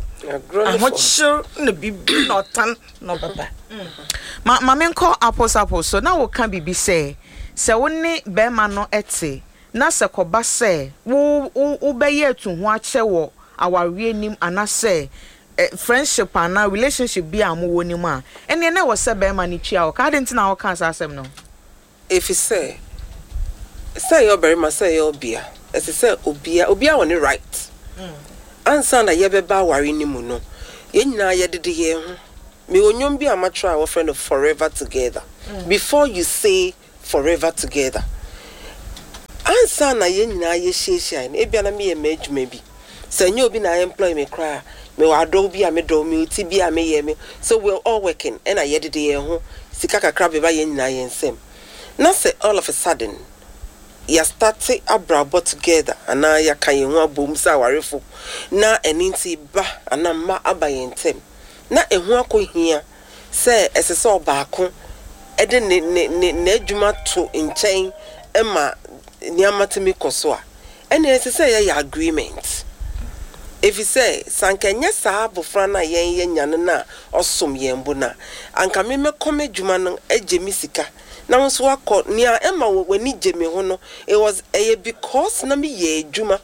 ahokyer na biribi na ɔtan na ɔbɛba. Ma ma menkɔ Apples Apples so, na woka biribi sɛ, sɛ wo ne barima no te na sɛ kɔba sɛ wo wo wobɛyɛ atuhoakyɛ wɔ awareɛ nim anasɛ friendship anaa relationship bi a mowɔ no mu a, ɛnneɛ na ɛwɔ sɛ barima no tua wo ka. Adɛn nti na wokaa saa asɛm no? Efisɛ, sɛ ɛyɛ ɔbarima sɛ ɛyɛ ɔbea, ɛsɛ sɛ obia, obiara wɔ ne right. Ansa na yɛbɛba aware no mu no, yɛn nyinaa yɛdede yɛn ho. Mewɔ nnwom bi a matwerɛ a wɔfrɛ no Forever Together. Before you say forever together. Ansa na yɛn nyinaa yɛhyiahyiae no, ebia na meyɛ m'adwuma bi. Sɛ ɛnyɛ obi na employ me koraa a, mewɔ adɔw bi a medɔw, mewɔ ti bi a meyɛ, me so we're all working ɛna yɛdede yɛn ho, sika kakra bɛba yɛn nyinaa yɛn nsam. Na sɛ all of a sudden yɛastarte abrabɔ together anaa yɛaka yɛn ho abom sɛ awarefo na ɛno nti ba anaa mma aba yɛn ntam na ɛho akɔhia sɛ ɛsɛ sɛ ɔbaako de ne ne ne n'adwuma to nkyɛn ma nneɛma tumi kɔ so a, ɛnneɛ ɛsɛ sɛ yɛyɛ agreement. Efisɛ sɛ anka ɛnyɛ saa abofra no a yɛn yɛanya no no a ɔsom yɛn bo no a, anka me mɛkɔ m'adwuma no agye me sika na wo nso woakɔ. Nea ɛma w'ani gye me ho no, it was ɛyɛ because na meyɛ adwuma.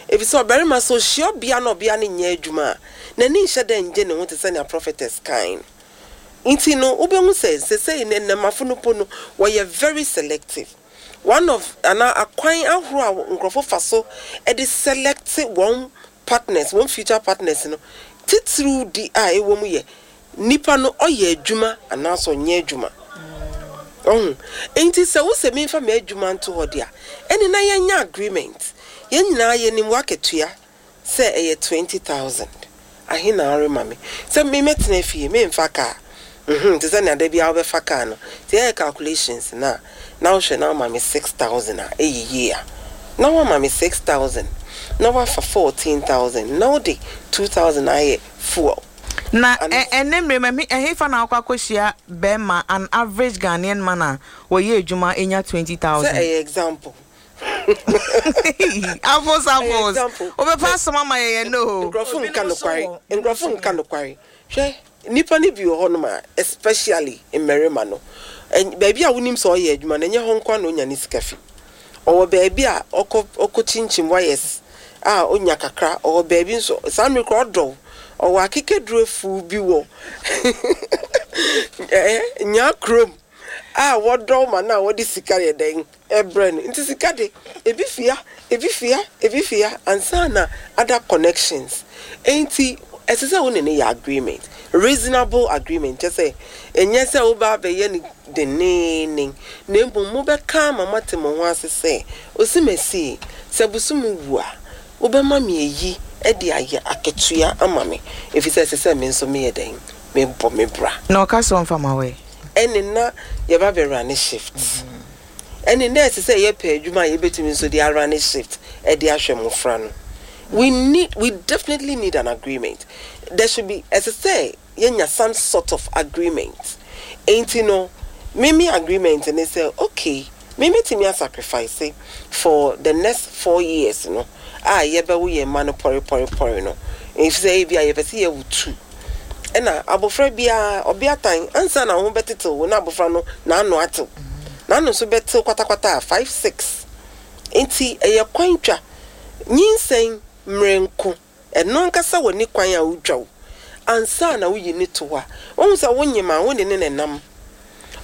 Efisɛ ɔbarima sɛ ɔhyia ɔbea na ɔbea no nyɛ adwuma a, n'ani nhyɛ da nnye ne ho te sɛ nea prophetess kae no. Nti no, wobɛhu sɛ sesei no nnɛmmafo no mpo no, wɔyɛ very selective. One of anaa akwan ahorow a nkurɔfo fa so de select wɔn partners, wɔn future partners no, titiriw di a ɛwɔ mu yɛ nipa no ɔyɛ adwuma anaasɛ ɔnyɛ adwuma. Ɔho? Nti sɛ wosɛ memfa m'adwuma nto hɔ de a, ɛne na yɛnyɛ agreement. Yɛn nyinaa yɛnim w'akatua sɛ ɛyɛ 20,000. Ahe na worema me? Sɛ me mɛtena fie, memfa kaa. Mhm, te sɛ nea da biara wobɛfa kaa no. Nti yɛyɛ calculations no a, na wohwɛ na woma me 6,000 a, ɛyɛ yie a. Na woama me 6,000, na woafa 14,000, na wode 2,000 ayɛ fuel. Na ɛnnɛ mmerɛ mu, ɛhefa na wokɔ akɔhyia bɛrima, an average Ghanaian man a wɔyɛ adwuma nya 20,000? Sɛ ɛyɛ example. Apples, apples. Wobɛpa asɛm ama yɛn yɛn o. Nkurɔfo nka nokware. Nkurɔfo nka nokware. Hwɛ, nnipa no bi wɔ hɔnom a, especially mmarima no, baabi a wonim sɛ ɔyɛ adwuma no, ɛnyɛ hɔ nko ara na onya ne sika fi. Ɔwɔ baabi a ɔkɔ ɔkɔkyinkyim wires a onya kakra. Ɔwɔ baabi nso, saa mmere koraa ɔdɔw. Ɔwɔ akekaduro afuw bi wɔ ɛɛ Nyaa kurom a wɔdɔw ma no a wɔde sika yɛ dɛn brɛ no. Nti sika de, ebi fi ha, ebi fi ha, ebi fi ha ansa na other connections. Enti ɛsɛ sɛ wo ne no yɛ agreement, reasonable agreement, kyerɛ sɛ ɛnyɛ sɛ woba abɛyɛ no denneennen, na mmom mobɛka ama moate mo ho ase sɛ, Osimesi, sɛ bosome wu a, wobɛma me ayi de ayɛ akatua ama me, efisɛ ɛsɛ sɛ me nso meyɛ dɛn? Mebɔ me bra. Na ɔka sɛ ɔmfa ma wo ɛ? Ɛnne na yɛba bɛrane shift. Ɛnne na ɛsɛ sɛ yɛpɛ adwuma a yɛbɛtumi nso de arane shift de ahwɛ mmofra no. We need, we definitely need an agreement. There should be, ɛsɛ sɛ yɛnya some sort of agreement. Enti no, me me agreement ne sɛ, okay, Me mɛtumi a sacrifice for the next 4 years no a yɛbɛwo yɛn mma no pɔre pɔre pɔre no, efisɛ ebi a yɛpɛ sɛ yɛwo two, ɛna abɔfra biara ɔbeatan ansa na wo ho bɛtetew wo na abɔfra no n'ano atew, n'ano nso bɛtew kwatakwata a 5, 6. Nti ɛyɛ kwan twa nyinsɛn mmerɛ nko. Ɛno ankasa wɔ ne kwan a wotwa wo ansa na woyi ne to hɔ a, wohu sɛ wonyem a, wo ne ne nenam.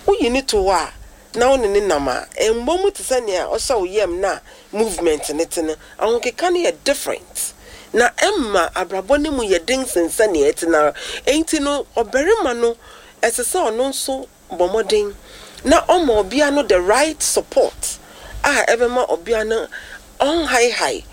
Woyi ne to hɔ a na wo ne ne nam a, ɛmmɔ mu te sɛ nea ɔhyɛ wo yam na movement ne te no. Ahokeka no yɛ different na ɛma abrabɔ no mu yɛ den sen sɛnea ɛte no. Enti no ɔbarima no, ɛsɛ sɛ ɔno nso bɔ mmɔden na ɔma ɔbea no the right support a ɛbɛma ɔbea no ɔnhaehae.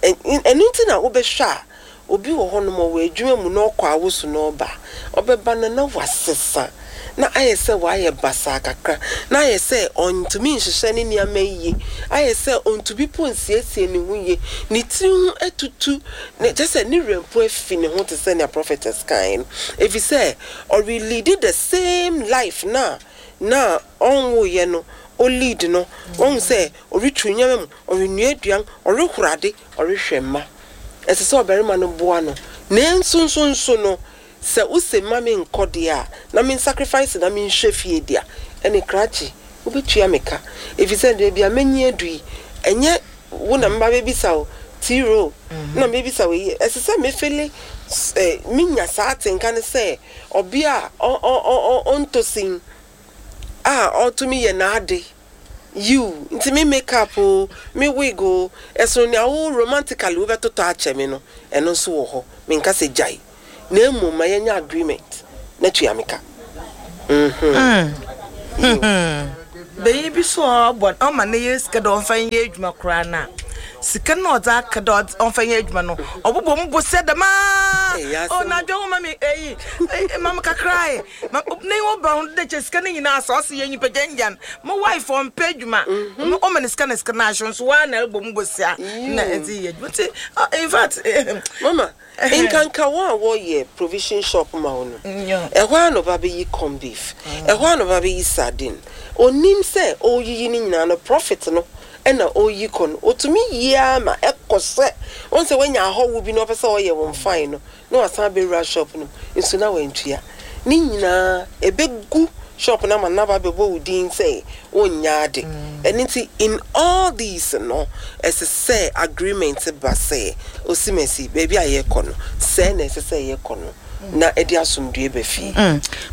Ɛno nti na wobɛhwɛ a, obi wɔ hɔnom, ɔwɔ adwuma mu na ɔkɔ awoso na ɔba, ɔbɛba no na wasesa, na ayɛ sɛ wayɛ basaa kakra, na ayɛ sɛ ɔntumi nhyehyɛ ne nneɛma yie, ayɛ sɛ ɔntumi po nsiesie ne ho yie, ne tiri ho atutu ne kyɛ sɛ ne werɛ mpo afi ne ho, te sɛ nea prophetess kaeɛ no, ɛfiri sɛ ɔrelead the same life na ɔnwoeɛ no. Ɔlead no, wɔn sɛ ɔretwi nneɛma mu, ɔrenua aduan, ɔrehoro ade, ɔrehwɛ mma. Ɛsɛ sɛ ɔbarima no boa no, nanso nso no sɛ wose ma me nkɔ deɛ a, na me sacrifice na menhwɛ fie deɛ a, ɛne krakye wobɛtua me ka, ɛfiri sɛ deɛ bia mɛnyi adu yi, ɛnyɛ wo na meba bɛbisa wo tiro na mebisa wo yi. Ɛsɛ sɛ mefeel menya saa atenka no sɛ ɔbea a ɔntɔ sin a ɔtumi yɛ n'ade yiw. Nti me makeup o, me wig o, ɛsono nea wo romantically wobɛtotɔ akyɛ me no, ɛno nso wɔ hɔ. Menka sɛ gyae, na mmom ma yɛnyɛ agreement na tua me ka. Bɛyi bi so a ɔbɔ ɔma ne yere sika dɛ ɔmfa nyɛ adwuma koraa na sika no ɔdze aka dɛ ɔmfa nyɛ adwuma no, ɔbobɔ mu bosia dɛmaa. Ɛyɛ ɔ asɛm. Na adwa wo ma me eyi ma me kakra yi ma ne wo ba ho de kyɛ sika no nyinaa sɛ ɔse yɛ nyimpa gyangyan mo wife ɔmpɛ adwuma. Ɔma ne sika na sika no ahyew nso waa na ɛrebɔ mu bosia na ɛdze yɛ adwuma. Nti in fact Mama nkanka wɔn a wɔyɛ provision shop ma wo no, ɛhɔ a na ɔba bɛyi corn beef, ɛhɔ a na ɔba bɛyi sardine. Onim sɛ ɔreyiyi no nyinaa no, profit no ɛna ɔreyi kɔ no. Otumi yie ama ɛkɔ sɛ wɔn sɛ wɔanya ahɔho bi na ɔpɛ sɛ ɔyɛ wɔn fine no, na wasan abɛwura shop no nso na wantua ne nyinaa, ɛbɛgu shop no ama naba bɛbɔ wo din sɛ wonnya ade. Ɛno nti in all these no, ɛsɛ sɛ agreement ba sɛ osimasi baabi a yɛkɔ no, sɛɛ na ɛsɛ sɛ yɛkɔ no na ɛde asomdue ba fie.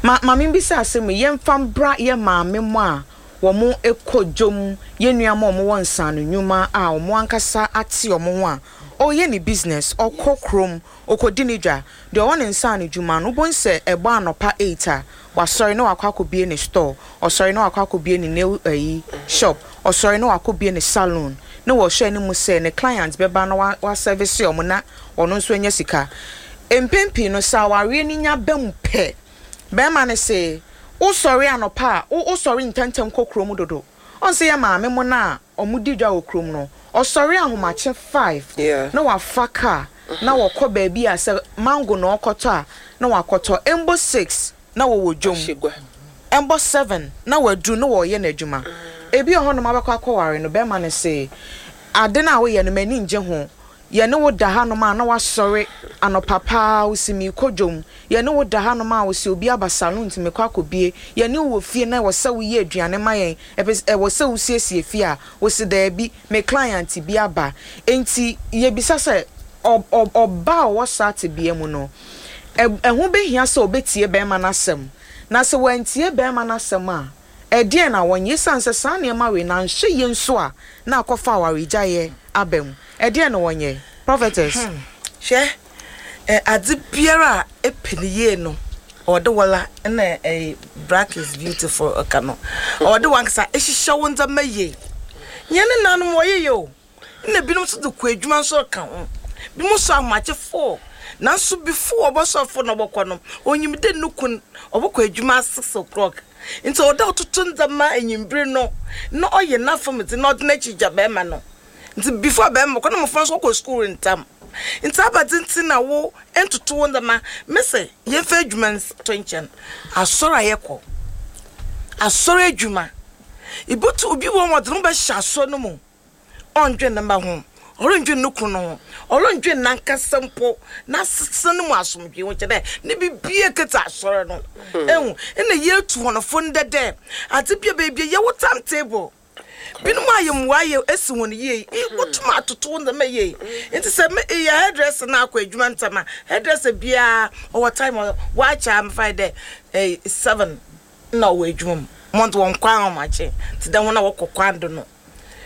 Ma maame bisa asɛm yi, yɛmfa mbra yɛ maame mo a wɔn kɔ dwom, yɛn nua a wɔwɔ nsano nnwuma a wɔn ankasa ate wɔn ho a ɔreyɛ ne business, ɔkɔ kurom, ɔkɔdi ne dwa. Deɛ ɔwɔ ne nsano dwuma no, wobɛhu sɛ ɛbɔ anɔpa 8 a, wasɔre na wakɔ akɔbie ne store, ɔsɔre na wakɔ akɔbie ne nail ayi shop, ɔsɔre na wakɔbie ne salon, na wɔhwɛ anim sɛ ne client bɛba na wa service wɔn na ɔno nso anya sika. Mpɛn pii no, sɛ awareɛ no nya ba mu pɛ, bɛrima no se wosɔre anɔpa a, wosɔre ntɛmntɛm kɔ kurom dodo. Ɔn sɛ yɛ maame mo no a ɔmo di dwa wɔ kurom no, ɔsɔre ahomakye 5 na wafa car na wɔkɔ baabi a sɛ mango na ɔkɔtɔ a, na wakɔtɔ. Ɛmbɔ 6 na wɔwɔ dwom, ɛmbɔ 7 na waduru na wɔreyɛ n'adwuma. Ebi wɔ hɔnom abɛkɔ akɔware no, bɛrima no se ade no a woyɛ no, m'ani ngye ho. Yɛne wo da hanom a na wasɔre anɔpa paa, wosi meekɔ dwom. Yɛne wo da hanom a, wosi obi aba salon nti mekɔ akɔbie. Yɛne wo wɔ fie na ɛwɔ sɛ woyɛ aduane ma yɛn, ɛpɛ ɛwɔ sɛ wosiesie fie a, wosi daabi, me client bi aba. Nti yɛbisa sɛ ɔba a ɔwɔ saa tebea mu no, ɛho bɛhia sɛ ɔbɛtie bɛrima no asɛm? Na sɛ wantie bɛrima no asɛm a, ɛdeɛn na wɔnyɛ? Ɛsiane sɛ saa nneɛma wei na nhwɛ yie nso a na akɔfa awaregyaeɛ aba mu, ɛdeɛn na wɔnyɛ, prophetess? Hwɛ, adze biara a epɛ ne yie no, ɔwɔ dɛ wɔla na black is beautiful ɔka no, ɔwɔ dɛ wankasa ehyehyɛ wo ndzɛmba yie. Nyɛ ne nanom wɔyeyɛ o, na binom nso de kɔ adwuma nso ka ho. Binom nso ahomakye 4, nanso before ɔbɔsɔre 4 na ɔbɔkɔ no, onyim dɛ ne kun ɔbɔkɔ adwuma 6 o'clock, nti ɔwɔ dɛ ɔtoto ndzɛmba enyimbir no na ɔyɛ n'afam dze na ɔde n'akyi gya bɛrima no. Nti before bɛrima kɔ na mmɔfra nso kɔ school ntam, nti abadze nti na wo ntoto wo ndzɛmba. Mese yɛmfa adwuma to nkyɛn, asɔre a yɛkɔ, asɔre adwuma. Ibotu obi wɔ hɔ a ɔdze no ho bɛhyɛ asɔr no mu, ɔnndwen ne mba ho, ɔronndwen no kun no ho, ɔronndwen nankasa mpo n'asetsena no mu asomdwee ho, kyerɛ dɛ ne biribiara kitsa asɔr no. Ehu? Nna yeetu hɔn fo ndɛ dɛ adze bi a beebi a yɛwɔ time table. Binom ayɛ mboa yɛ esi hɔn yie, ibotum atoto wo ndzɛmba yie. Ntsi sɛ me eyɛ hairdresser na akɔ edwuma ntsɛm a, hairdresser biara ɔwɔ time a ɔakyɛ a mefa no dɛ seven nna ɔwɔ edwuma mu. Hɔn dze wɔnnkɔ ahomakye tse dɛ hɔn a wɔkɔ kwan do no.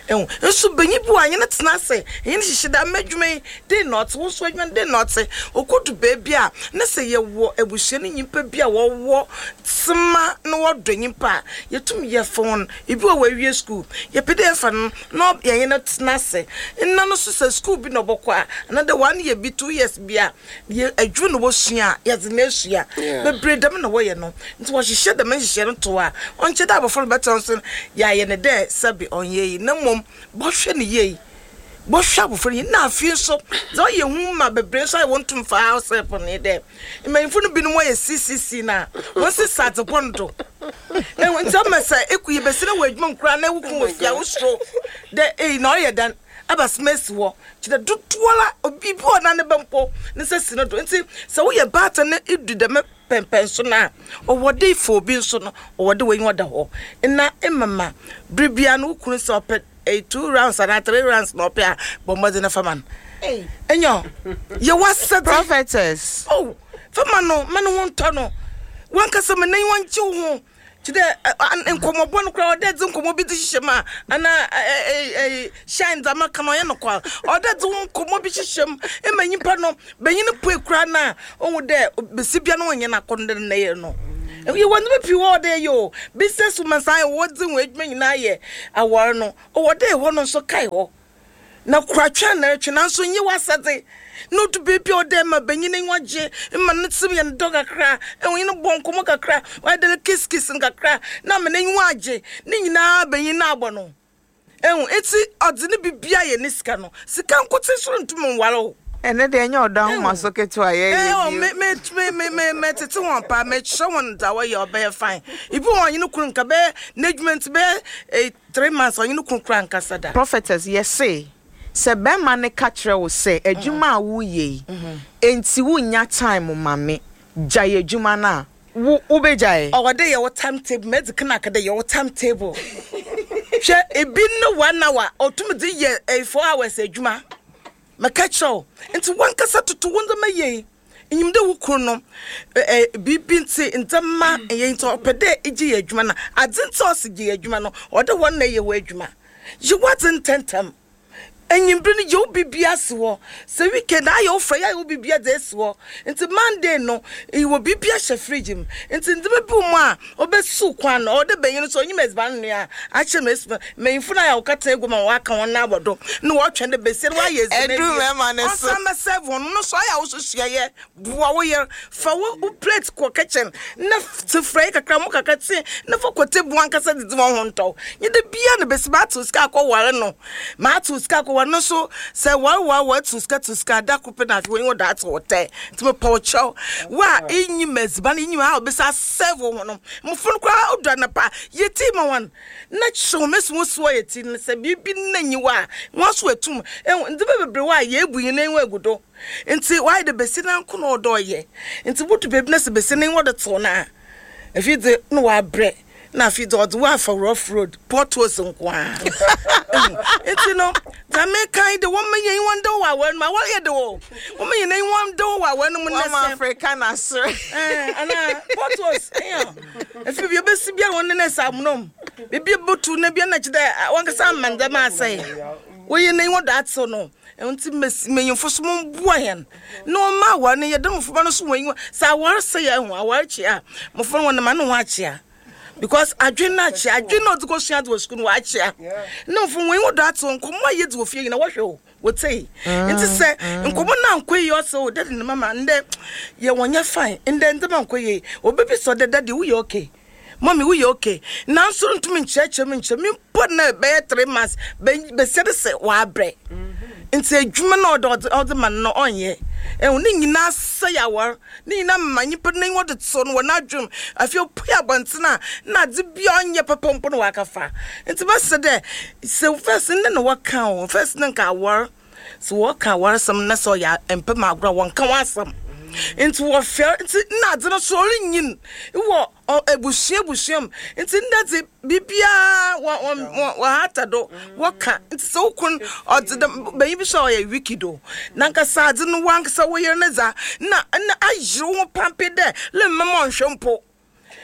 Ehu? Nso banyin bi wɔ hɔ a, enye no tsena ase, enye no hyehyɛ dɛ, m'edwuma yi, dɛn na ɔtse, wo so w'edwuma no, dɛn na ɔtse. Okodu beebi a, na sɛ yɛwɔ ebusua no nyimpa bi a wɔwɔ tsema na wɔdɔ nyimpa a, yetum yɛfa hɔn. Bi wɔ hɔ a oewie skuul, yɛpɛ dɛ yɛfa no na yɛnye no tsena ase. Nna no so sɛ skuul bi na ɔbɔkɔ a, anaadɛ 1 year bi, 2 years bi a, yɛ edwuma na wosua a, yɛdze no esua. Beberee dɛm na wɔyɛ no. Ntsi wɔhyehyɛ dɛm nhyehyɛɛ no to hɔ a, ɔnnkyɛ dɛ abofra no bɛtse nso no, yɛayɛ no dɛ sɛbe ɔnnyɛ iyi, na mbom bɔhwɛ no yie. Bɔhwɛ abofra no yie. Nna afei so, dza ɔyɛ hu ma beberee so a wonntum mmfa house help no nye dɛ, mbanyimfo no binom wɔyɛ CCC no a, wɔnnsesa adze bɔn do. Ehu, ntsi ɔma sɛ ekɔ yebesi na wɔ edwuma mu koraa na wo kun wɔ fie a, wosuro dɛ ei na ɔreyɛ dɛn. Abasɛm esi hɔ kyerɛ dodowara obi bi wɔ hɔ a ne ba mpo ne nsa si no do. Ntsi sɛ woyɛ baatan na idu dɛm pɛnpɛnso no a, ɔwɔ dɛ ifa obi nso no, ɔwɔ dɛ w'enyiwa da hɔ na emama ber biara no wo kun sɛ ɔpɛ two rounds anaa three rounds na ɔpɛ a, bɔ mbɔdzen na fa ma no. Nyew, yɛ w'asɛdze. Prophetess. Oh, fa ma no, ma no ho ntɔ no. Wankasa ma n'enyiwa ngye wo ho. Kyerɛ dɛ nkɔmbɔbɔ no koraa ɔwɔ dɛ edze nkɔmbɔ bi dze hyehyɛ mu a anaa shine dza maka no ɔnnyɛ nokwar. Ɔwɔ dɛ edze wo nkɔmbɔ bi hyehyɛ mu ma nyimpa no, banyin no pue koraa no a ohu dɛ basia biara no ɔnnyɛ n'akɔndɔ dɛ ne yer no. Yɛwɔ ndzɛmba pii wɔ hɔ a ɔwɔ dɛ yɛyɛ o, business woman saa wɔdze hɔn edwuma nyina yɛ awar no, ɔwɔ dɛ hɔ no so kae hɔ. Na kora twɛn na retwe, nanso nyɛ w'asɛdze. Na odu beebi a ɔwɔ dɛ ma banyin n'enyiwa gye, ma ne tsir yɛ no dɛw kakra, ɔnye no bɔ nkɔmbɔ kakra, ɔayɛ dɛ kiss kiss no kakra, na ama n'enyiwa agye. Ne nyina banyin no abɔ no. Ehu, ntsi ɔdze ne biribiara yɛ ne sika no. Sika nkotsee so runntum nnwar wo. Ɛno deɛ ɛnyɛ ɔdɔ ahomaso ketewa a yɛyɛ bio. Me me me me me metete wɔn paa, mekyerɛ wɔn dza wɔyɛ ɔbɛyɛ fine. Ebi wɔ hɔ a ɔnye no kun nka bɛyɛ n'edwuma ntsi bɛyɛ 3 months ɔnye no kun koraa nkasa da. Prophetess, yɛse sɛ bɛrima no ka kyerɛ wo sɛ adwuma a woreyɛ yi enti wonnya time ma me, gyae adwuma no a, wo wobɛgyae? Ɔwɔ dɛ yɛwɔ time table, medzi kan aka dɛ yɛwɔ time table. Hwɛ, ebi no 1 hour otum dze yɛ 4 hours edwuma. Mɛka kyerɛ wo. Ntsi wankasa toto wo ndzɛmba yie. Inyim dɛ wo kun no, biribi ntsi ndzɛmba nnyɛ ntsi ɔpɛ dɛ egye yɛ edwuma na adze ntsi a ɔse gye yɛ edwuma no, ɔwɔ dɛ hɔ na eyɛ w'edwuma. Yɛ w'adze ntsɛntsɛm. Ewimbir no yɛ wo biribiara si hɔ. Sɛ weekend a ayɛ wo frɛ, ayɛ wo biribiara dze esi hɔ. Ntsi Monday no, ewɔ biribiara hyɛ fridge mu. Ntsi ndzɛmba bi wɔ mu a obesiw kwan no, ɔwɔ dɛ banyin no so onyim edziban noa a, akyerɛ me esi mbanyimfo no ayɛ a wɔkɛtsena egua mu a wɔaka hɔn nan abɔ do na wɔrotweɔn dɛ basia no ɔayɛ edziban Edur ewie, mmarima no so. ɔnsan mbɛserve hɔn no so ayɛ a wo so sua yɛ, boa wo yer, fa wo wo plate kɔ kitchen na tse frɛe kakra, mo kakra tse na fa kɔ table ankasa dzidzi hɔn ho ntɔ wo. Nnyɛ da biara na besi matsew sika akɔwar no, matsew sika akɔwar no so sɛ war war war tsew sika tsew sika da kor pɛ na afei w'enyiwa do atsew wo tɛ. Ntsi mepɛ wo kyɛw, wo a innyim edziban, innyim how obesi asɛɛve wo ho no, mbofra no koraa odu anapa a, yɛ tea ma hɔn na kyerɛ hɔn mesi hɔn si wɔyɛ tea no, sɛ biribi nna nnyi hɔ a, hɔn so etum. Ehu, ndzɛmba beberee wɔ hɔ a yeebu hɛn enyiwa egu do. Ntsi ɔayɛ dɛ basia no nko na ɔwɔ dɛ ɔyɛ. Ntsi bodu beebi na sɛ basia no n'enyiwa do tsew no a, afei dze nna ɔaberɛ. Na afei dze ɔdze wo afa rough road, potholes nko ara. Ehu? Ntsi no, dza mereka nye dɛ wɔmma hɛn enyiwa nda hɔ wɔ awar no mu. Awar yɛ dɛw o. Wɔmma hɛn enyiwa nda hɔ wɔ awar no mu na Wɔama sɛ. Africa no aserɛ. Ɛɛ, anaa potholes, eya. Afei bia obesi biara wɔn nan esi amona mu. Beebi a ebotu no bia na kyerɛ dɛ wankasa ama ndzɛmba asɛe. Woyɛ n'enyiwa do atsew no. Ɛno ntsi mbanyimfo so momboa hɛn na wɔmma awar no yɛ dɛ mboframba no so hɔn enyiwa sɛ awar sɛɛ a ehu awar kyea a mbofra no wɔnam ano ho akyea because adwen no akyea adwen no a ɔdze kɔsua adze wɔ sukuu no ɔakyea na mbofra hɔn enyiwa do atsew nkɔmbɔ a yedzi wɔ fie nyina wɔhwɛ o wɔtsie ntsi sɛ nkɔmbɔ no annkɔ yie ɔsɛ o daddy na mama ndɛ yɛ wɔnnyɛ fine ndɛ ndzɛmba annkɔ yie obebisa wo dɛ daddy woyɛ okay. Mummy woyɛ okay nanso ntumi nkyerɛkyerɛ mu nkyerɛ me mpo na bɛyɛ 3 months bɛsia de sɛ wabrɛ nti adwuma na ɔde ɔde ɔde ma no no ɔnyɛ. Ehu, ne nyinaa sɛe awar, ne nyinaa ma nyimpa n'enyiwa do tsew no wɔ n'adwen mu. Afei opue abɔntsen a, nna adze bi a ɔnnyɛ papa mpo na ɔakɛfa. Ntsi mɛserɛ dɛ, sɛ first ndɛ na wɔkã o, first na nka awar, sɛ wɔkã awarsɛm na sɛ ɔyɛ mpɛ mu agor a, wɔnnkã ho asɛm. Ntsi wɔfɛr, ntsi nna adze no so orinyin wɔ ebusua ebusua mu. Ntsi ndɛ dze, biribiara wɔ wɔ wɔ wɔhata do, wɔkã. Ntsi sɛ wo kun ɔdze dɛm, banyin bi so a ɔyɛ wicked o, nankasa adze no wankasa wo yer ne dza, nna nna ayer woho pampee dɛ lemma ma ɔnnhwɛ mpo.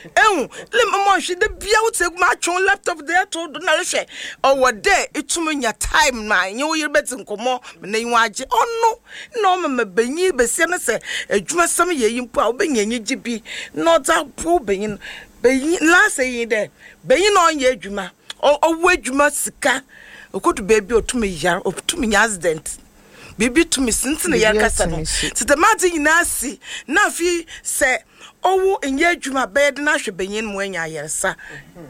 Ehu, le mma ɔnhwɛ, da biara wo tse egua mu atwe wo laptop dze ato wo do na erehwɛ. Ɔwɔ dɛ itum nya time ma enye wo yer bedzi nkɔmbɔ ma n'enyiwa agye. Ɔno na ɔma ma banyin, basia no sɛ edwumasɛm yɛ iyi mpo a, obenya enyigye bi na ɔdze aboa wo banyin. Banyin, last eyi nye dɛ, banyin a ɔnnyɛ edwuma, ɔwɔ edwuma sika, okodu beebi a otum yar, otum nya accident. Biribi tumi si ntsi na yɛrekasa no. Ntsi dɛm adze nyina si na afei sɛ ɔwo nnyɛ edwuma a bɛyɛ dɛn ahwɛ banyin ma oenya ayarsa.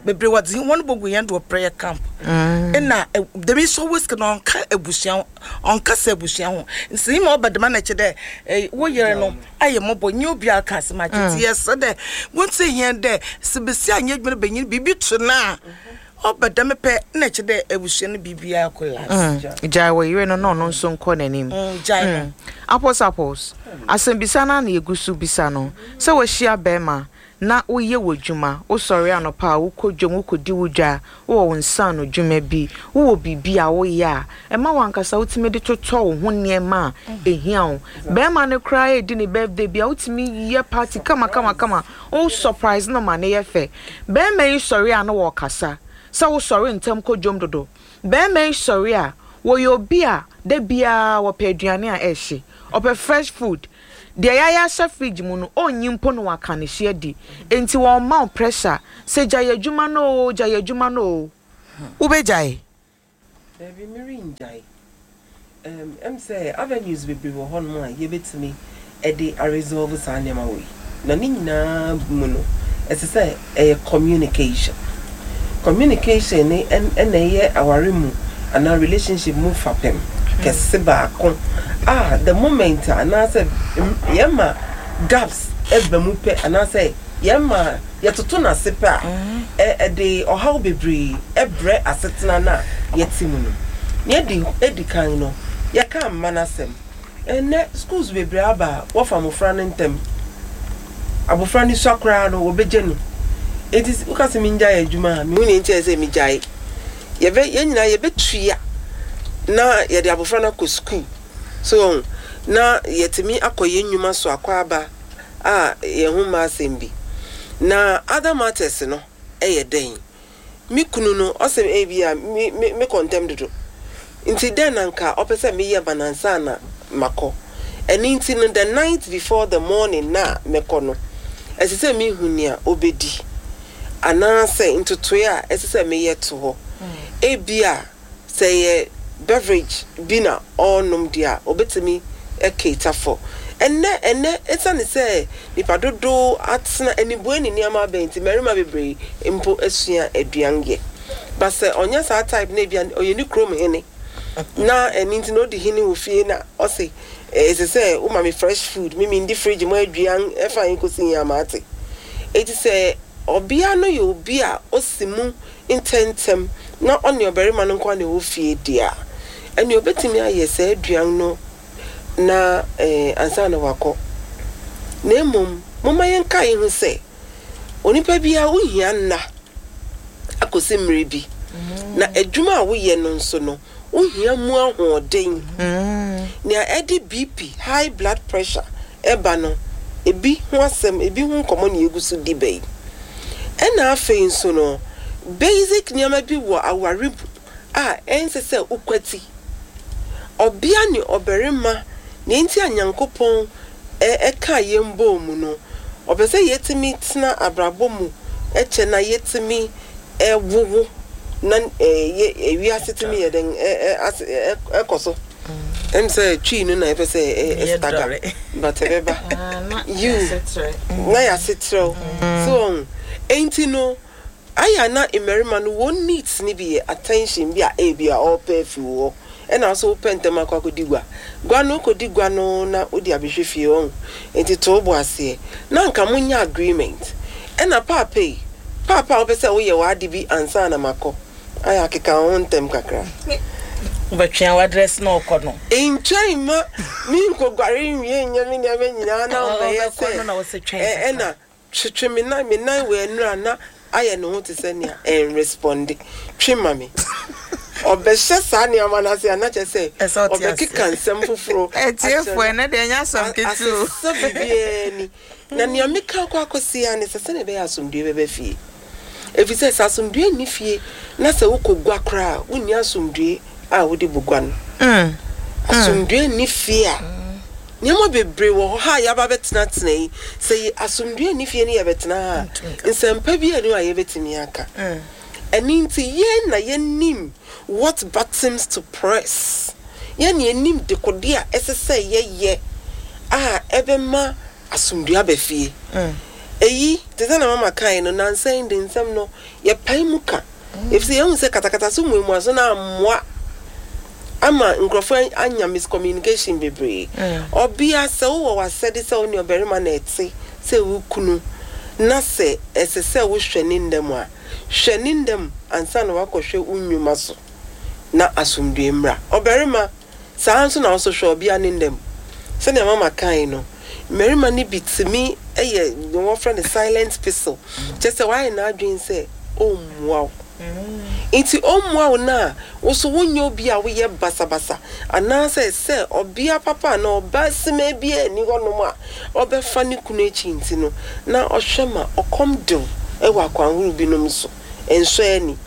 Beberee wɔdze hɔn bogu hɛn do wɔ prayer camp. Nna dɛm yi so ɔwɔ sika no ɔnnka ebusua ho, ɔnnkasa ebusua ho. Ntsi ma ɔba dɛm a na kyerɛ dɛ wo yer no ayɛ mbɔbɔ nnyɛ obiara ka asɛm akyerɛ. Ntsi yɛserɛ dɛ wontsie hɛn dɛ sɛ basia annyɛ edwuma na banyin biribi to no a, Ɔba dɛm pɛ na ɛkyerɛ dɛ ebusua no biribiara collapse. Gyae wo yere no na ɔno nso nkɔ n'anim. Gyae no. Apples apples, asɛmbisa no ara na yɛgu so bisa no. Sɛ woahyia barima na woyɛ w'adwuma, wosɔre anɔpa a wokɔ dwam wokɔdi wo dwa, wowɔ wo nsaano dwuma bi, wowɔ biribi a woyɛ a ɛma w'ankasa wotumi de totɔ wo ho nneɛma a ɛhia wo. Barima no koraa redi ne birthday bi a wotumi yɛ party kama kama kama, wo surprise no ma no yɛ fɛ. Barima yi sɔre a na wɔkasa sɛ wo sɔre ntɛm kɔ dwom dodo. Barima yi sɔre a, wɔyɛ obi a da biara wɔpɛ aduane a ɛhye. Ɔpɛ fresh food. Deɛ yɛayɛ ahyɛ fridge mu no, ɔnnyi mpo na waka ne hye adi. Enti wɔmma wo pressure sɛ gyae adwuma no oo, gyae adwuma no oo. Wobɛgyae? Dabi, merengyae. Ɛm, ɛm sɛ avenues bebree wɔ hɔnom a yɛbɛtumi de aresolve saa nneɛma wei. Na ne nyinaa mu no, ɛsɛ sɛ ɛyɛ communication. Communication ne ɛna ɛyɛ aware mu anaa relationship mu fapem kɛse baako a the moment a anaasɛ yɛma gaps ɛba mu pɛ anaasɛ yɛma yɛtoto no ase pɛ a, ɛde ɔhaw bebree brɛ asetena no a yɛte mu no. Nea edi kan no, yɛka mma no asɛm. Ɛnnɛ, schools bebree aba a wɔfa mmofra no ntɛm. Abofra no sua koraa no, wɔbegye no. Enti woka sɛ mingyae adwuma a, minhu nea enti a ɛsɛ sɛ migyae. Yɛbɛ, yɛn nyinaa yɛbɛtua na yɛde abofra no akɔ sukuu. So wɔn? Na yɛatumi akɔ yɛn nnwuma so akɔ aba a yɛn ho mma asɛm bi. Na other matters no yɛ dɛn? Me kunu no, ɔse ebia me me mekɔ ntɛm dodo. Nti dɛn na nka ɔpɛ sɛ meyɛ ma no ansa na makɔ? Ɛno nti no, the night before the morning no a mɛkɔ no, ɛsɛ sɛ mehu nea ɔbɛdi anaasɛ ntotoeɛ a ɛsɛ sɛ meyɛ to hɔ. Ebia Sɛ ɛyɛ beverage bi na ɔrenom deɛ a, ɔbɛtumi cater for. Ɛnnɛ, ɛnnɛ, ɛsiane sɛ nnipa dodow atena anibue ne nneɛma abɛn nti, mmarima bebree mpo asua aduan yɛ. But sɛ ɔnyɛ saa type no a, ebia ɔyɛ ne kurom hene, na ɛno nti na ɔdi hene wɔ fie na ɔse, ɛsɛ sɛ woma me fresh food, me mendi fridge mu aduan, ɛfa he kɔsi he a mate. Enti sɛ ɔbea no yɛ obi a ɔsi mu ntɛmntɛm na ɔne ɔbarima no nko ara na ɛwɔ fie deɛ a, ɛnneɛ ɔbɛtumi ayɛ saa aduan no na ansa na wakɔ. Na mmom, momma yɛnkae nhu sɛ, onipa biara wohia nna akɔsi mmerɛ bi, na adwuma a woyɛ no nso no, wohia mu ahoɔden. Nea ɛde BP, high blood pressure, ba no, ebi ho asɛm, ebi ho nkɔmmɔ na yɛgu so di bɛ yi. Ɛna afei nso no, basic nneɛma bi wɔ aware mu a ɛnsɛ sɛ wokwati. Ɔbea ne ɔbarima, nea enti a Nyankopɔn kaa yɛn bɔɔ mu no, ɔpɛ sɛ yɛtumi tena abrabɔ mu kyɛ na yɛtumi wowo na wiase tumi yɛ dɛn ɛkɔ so. Ɛm sɛ Twi no na ɛpɛ sɛ ɛstaga but ɛbɛba. Yiw, na yɛasetrɛw. So wɔn? Enti no, ayɛ a na mmarima no wɔn needs no bi yɛ attention bi a ebi a ɔrepɛ afi wo hɔ. Ɛna wo nso wopɛ ntɛm akɔ akɔdi gua. Gua no, wokɔdi gua no na wode abɛhwɛ fie, wahu. Nti to wo bo aseɛ. Na anka monyɛ agreement. Ɛna paapa yi, paapa a wopɛ sɛ woyɛ w'ade bi ansa na makɔ. Ayɛ akeka wo ho ntɛm kakra. Wobɛtwea w'adrɛse na ɔkɔ no. Ntwɛn mma menkɔguare nwie nyɛ me nneɛma nyinaa na wommɛyɛ sɛ ɛna twetwe me nan, me nan wɔ ɛnora na ayɛ ne ho te sɛ nea ɛnresponde. Twe ma me. Ɔbɛhyɛ saa nneɛma no ase a na kyerɛ sɛ ɔbɛkeka nsɛm foforo akyerɛ no. Ɛnɛ deɛ ɛnyɛ asɛm ketewa o. Asesa biribiara ni. Na nea meka akɔ akɔsi ara ne sɛ sɛnea ɛbɛyɛ a asomdwoe bɛba fie. Efisɛ sɛ asomdwoe nni fie na sɛ wokɔ gua koraa a, wunni asomdwoe a wode bɔ gua no. Asomdwoe nni fie a, nneɛma bebree wɔ hɔ ha a yɛaba abɛtenatena yi, sɛ asomdwoe nni fie na yɛbɛtena ha a, nsɛmpa biara nni hɔ a yɛbɛtumi aka. Ɛno nti, yɛn na yɛnim what buttons to press. Yɛn na yɛnim dekode a ɛsɛ sɛ yɛyɛ a ɛbɛma asomdwoe aba fie. Eyi, te sɛ nea Mama kae no, nnansa yi de nsɛm no, yɛpae mu ka, efisɛ yɛahu sɛ katakata so mmuamuaso no ammoa ama nkurɔfo anya miscommunication bebree. Ɔbea, sɛ wowɔ w'asɛde sɛ wo ne ɔbarima na ɛte sɛ wo kunu, na sɛ ɛsɛ sɛ wohwɛ ne nna mu a, hwɛ ne nna mu ansa na woakɔhwɛ wo nnwuma so, na asomdwoe mmra. Ɔbarima, Saa ara nso na wo nso hwɛ ɔbea ne nna mu. Sɛnea Mama kae no, mmarima no bi tumi yɛ nea wɔfrɛ no silent pistol, kyerɛ sɛ wayɛ n'adwene sɛ ɔremmua wo. Enti ɔmmua wo no a, wo nso wonyɛ obi a woyɛ basabasa anaasɛ sɛ ɔbea papa anaa ɔbaa simaa biara nni hɔnom a ɔbɛfa ne kunu akyi nti no, na ɔhwɛ ma ɔkɔm de wo wɔ akwan horow binom so. Ɛnsɔ ani.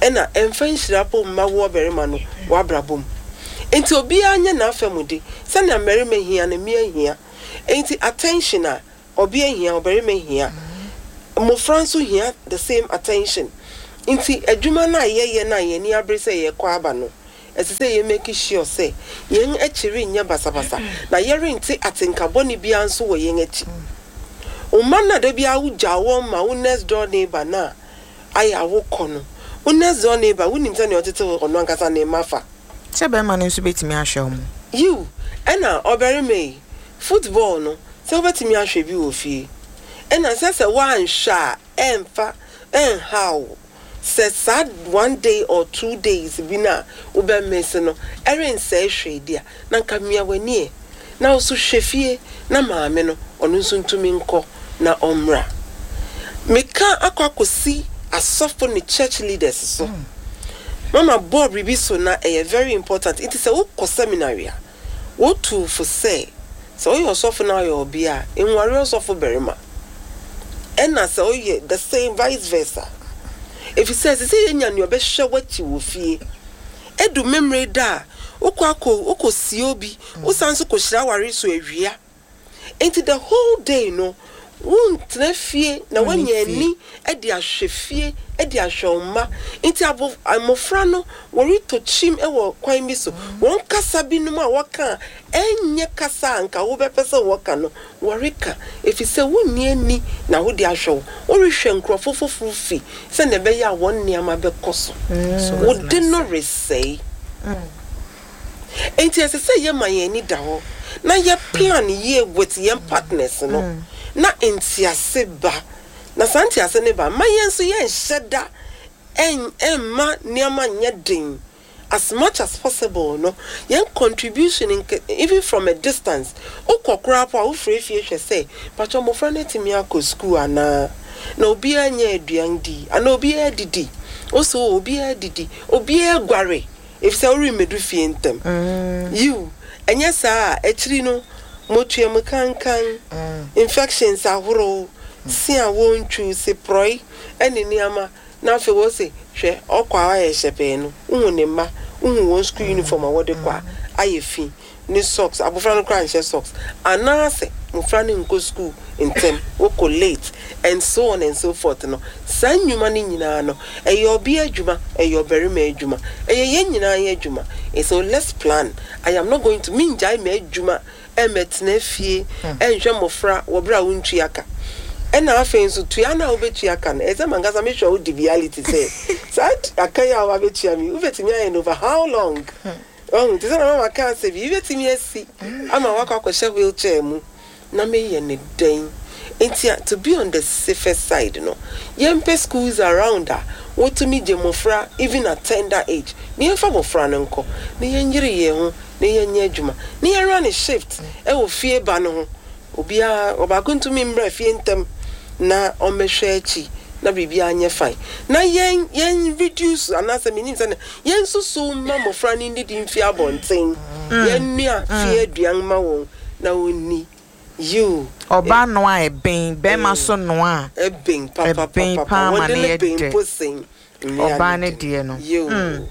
Ɛna ɛmfa nhyira mpo mma wo ɔbarima no w'abrabɔ mu. Enti obiara nyɛ n'afamude. Sɛnea mmarima hia no, mmea hia. Enti attention a ɔbea hia, ɔbarima hia. Mmofra nso hia the same attention. Nti adwuma no a yɛyɛ no a yɛn ani abere sɛ yɛrekɔ aba no, ɛsɛ sɛ yɛ make sure sɛ yɛn akyi renyɛ basabasa na yɛrente atenka bɔne biara nso wɔ yɛn akyi. Wo mma no a da biara wogyaw wɔn ma wo next door neighbor no a ayɛ a wokɔ no, wo next door neighbor, wonim sɛnea ɔtete ɔno ankasa ne mma fa. Sɛ bɛrima no nso bɛtumi ahwɛ wɔn. Yiw, ɛna ɔbarima yi, football no, sɛ wobɛtumi ahwɛ bi wɔ fie. Ɛna sɛ sɛ woanhwɛ a ɛmfa ɛnhaw wo. Sɛ saa one day or 2 days bi no a wobɛ miss no ɛrensɛe hwee de a, na nka mia w'ani ɛ. Na wo nso hwɛ fie na maame no, ɔno nso ntumi nkɔ na ɔmmra. Meka akɔ akɔsi asɔfo ne church leaders so. Mama bɔɔ biribi so na ɛyɛ very important. Nti sɛ wokɔ seminary a, wotu fo sɛ, sɛ woyɛ ɔsɔfo na woyɛ ɔbea a, nware ɔsɔfo barima. Ɛna sɛ woyɛ the same vice versa. Efisɛ ɛsɛ sɛ yenya nea ɔbɛhwɛ w'akyi wɔ fie. Edu Memeneda da a, wokɔ akɔ wokɔsie obi, wosan nso kɔhyira aware so awia. Enti the whole day no, wontena fie na woanya ani de ahwɛ fie, de ahwɛ wo mma. Nti abo mmofra no, wɔretɔ kyim wɔ kwan bi so. Wɔn kasa binom a wɔka a ɛnyɛ kasa a anka wobɛpɛ sɛ wɔka no, wɔreka efisɛ wonni ani na wode ahwɛ wo. Worehwɛ nkurɔfo foforo fi sɛnea ɛbɛyɛ a wɔn nneɛma bɛkɔ so. Wo de no resɛe. Enti ɛsɛ sɛ yɛma yɛn ani da hɔ na yɛ plan yie with yɛn partners no na ntease ba. Na saa ntease no ba, mma yɛn nso yɛnhyɛ da ɛmma nneɛma nyɛ den. As much as possible no, yɛn contribution nke even from a distance, wokɔ koraa po a wofrɛ fie hwɛ sɛ, pakyɛ mmɔfra no atumi akɔ school anaa? Na obiara nyɛ aduan di anaa obiara didi? Wo so obiara didi, obiara guare efisɛ woremmedu fie ntɛm. Yiw, ɛnyɛ saa a, akyiri no, motua mu kankan, infections ahorow, se a wontwiw, seporɔe ne nneɛma, na afei wose, hwɛ, ɔkɔ a wayɛ hyɛpɛɛ no, wuhu ne mma, wuhu wɔn sukuu uniform a wɔde kɔ a, ayɛ fi, ne socks, abofra no koraa nhyɛ socks, anaasɛ mmofra no nkɔ sukuu ntɛm, wɔkɔ late, and so on and so forth no, saa nnwuma no nyinaa no, ɛyɛ ɔbea adwuma, ɛyɛ ɔbarima adwuma, ɛyɛ yɛn nyinaa yɛn adwuma. And so let's plan. I am not going to, mengyae m'adwuma ɛmmɛtena fie ɛnhwɛ mmofra wɔ bere a wontua ka. Ɛna afei nso tua no a wobɛtua ka no, ɛsɛ sɛ mankasa mehwɛ wo di reality sɛ saa aka yi a wabɛtua me, wobɛtumi ayɛ no over how long? Wahu? Te sɛ na mama kaa sɛ biribi bɛtumi asi ama wakɔ akɔhyɛ wheelchair mu na meyɛ no dɛn? Nti a, to be on the safer side no, yɛmpɛ schools around a wɔtumi gye mmɔfra even at tender age na yɛmfa mmɔfra no nkɔ na yɛnyere yɛn ho na yɛnyɛ adwuma na yɛn run shift wɔ fie ba no ho. Obiara, ɔbaako ntumi mmra fie ntɛm na ɔmmɛhwɛ akyi na biribiara nyɛ fine. Na yɛn, yɛn reduce anaasɛ menim sɛnea, yɛnsusuw mma mmɔfra no nnidi mfi abɔnten. Yɛnnoa fie aduan mma wɔn na wɔnni. Yiw. Ɔbaa noa a ɛben, barima nso noa a ɛben ɛben paa ma no yɛ dɛ. Ɔbaa no deɛ no.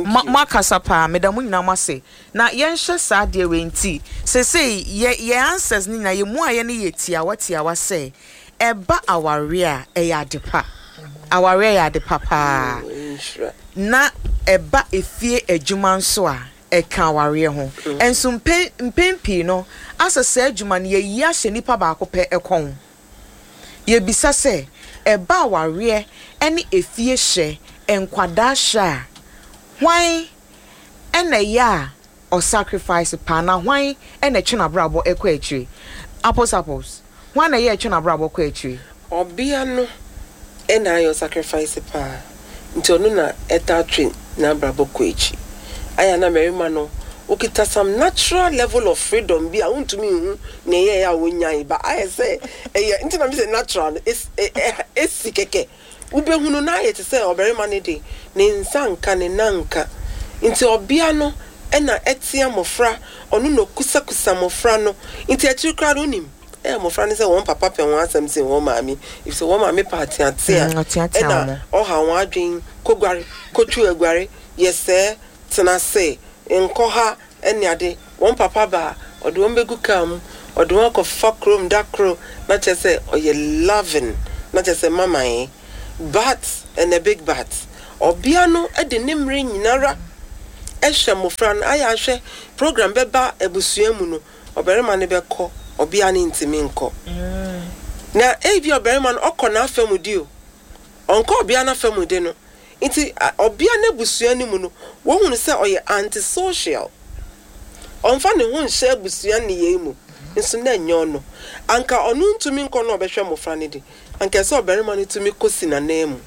Mo moakasa paa, meda mo nyinaa mo ase. Na yɛnhyɛ saa adeɛ wei nti, seesei yɛ yɛn answers no nyinaa, yɛn mmuaeɛ no yɛ tiawa tiawa sɛ, ɛba awareɛ a, ɛyɛ ade pa. Awareɛ yɛ ade pa paa. Na ɛba efie adwuma nso a, ɛka awareɛ ho. Nso mpɛn mpɛn pii no, asɛ saa adwuma no, yɛyi ahyɛ nipa baako pɛ kɔn. Yɛbisa sɛ, ɛba awareɛ ne efie hyɛ, nkwadaa hyɛ a, hwan na ɛyɛ a ɔsacrifice paa na hwan na ɛtwe n'abrabɔ kɔ akyire? Apples apples, hwan na ɛyɛ a ɛtwe n'abrabɔ kɔ akyire? Ɔbea no na ayɛ ɔsacrifice paa nti ɔno na ɛtaa twe n'abrabɔ kɔ akyi. Ayɛ a na mmarima no wokita some natural level of freedom bi a wontumi nhu nea ɛyɛe a wonyae but ayɛ sɛ ɛyɛ nti na mise natural no esi kɛkɛ. Wobɛhunu na ayɛ te sɛ ɔbarima no de ne nsa nka ne nan nka. Nti ɔbea no na ɛtea mmɔfra, ɔno na ɔkusakusa mmɔfra no. Nti akyiri koraa no wonim, ɛyɛ mmɔfra no sɛ wɔn papa pɛ wɔn asɛm sen wɔn maame, efisɛ wɔn maame pɛ ateatea ɛna ɔha wɔn adwene, kɔguare, kɔtwiw aguare, yɛ sɛɛ, tena ase, nkɔ ha ne ade. Wɔn papa ba a, ɔde wɔn bɛgu kaa mu, ɔde wɔn akɔfa kurom da koro, na kyerɛ sɛ ɔyɛ loving, na kyerɛ sɛ mama eh. But, and a big but, ɔbea no de ne mmere nyinara hwɛ mmofra no, ayɛ ahwɛ program bɛba abusua mu no, ɔbarima no bɛkɔ, ɔbea no ntumi nkɔ. Na ebia ɔbarima no ɔkɔ n'afa mu de o, ɔnkɔ ɔbea no afa mu de no, Nti ɔbea no abusua no mu no, wohu no sɛ ɔyɛ anti-social. Ɔmfa ne ho nhyɛ abusua nneyɛe mu, nso na ɛnyɛ ɔno. Anka ɔno ntumi nkɔ na ɔbɛhwɛ mmofra no de, anka ɛsɛ sɛ ɔbarima no tumi kosi n'ananmu.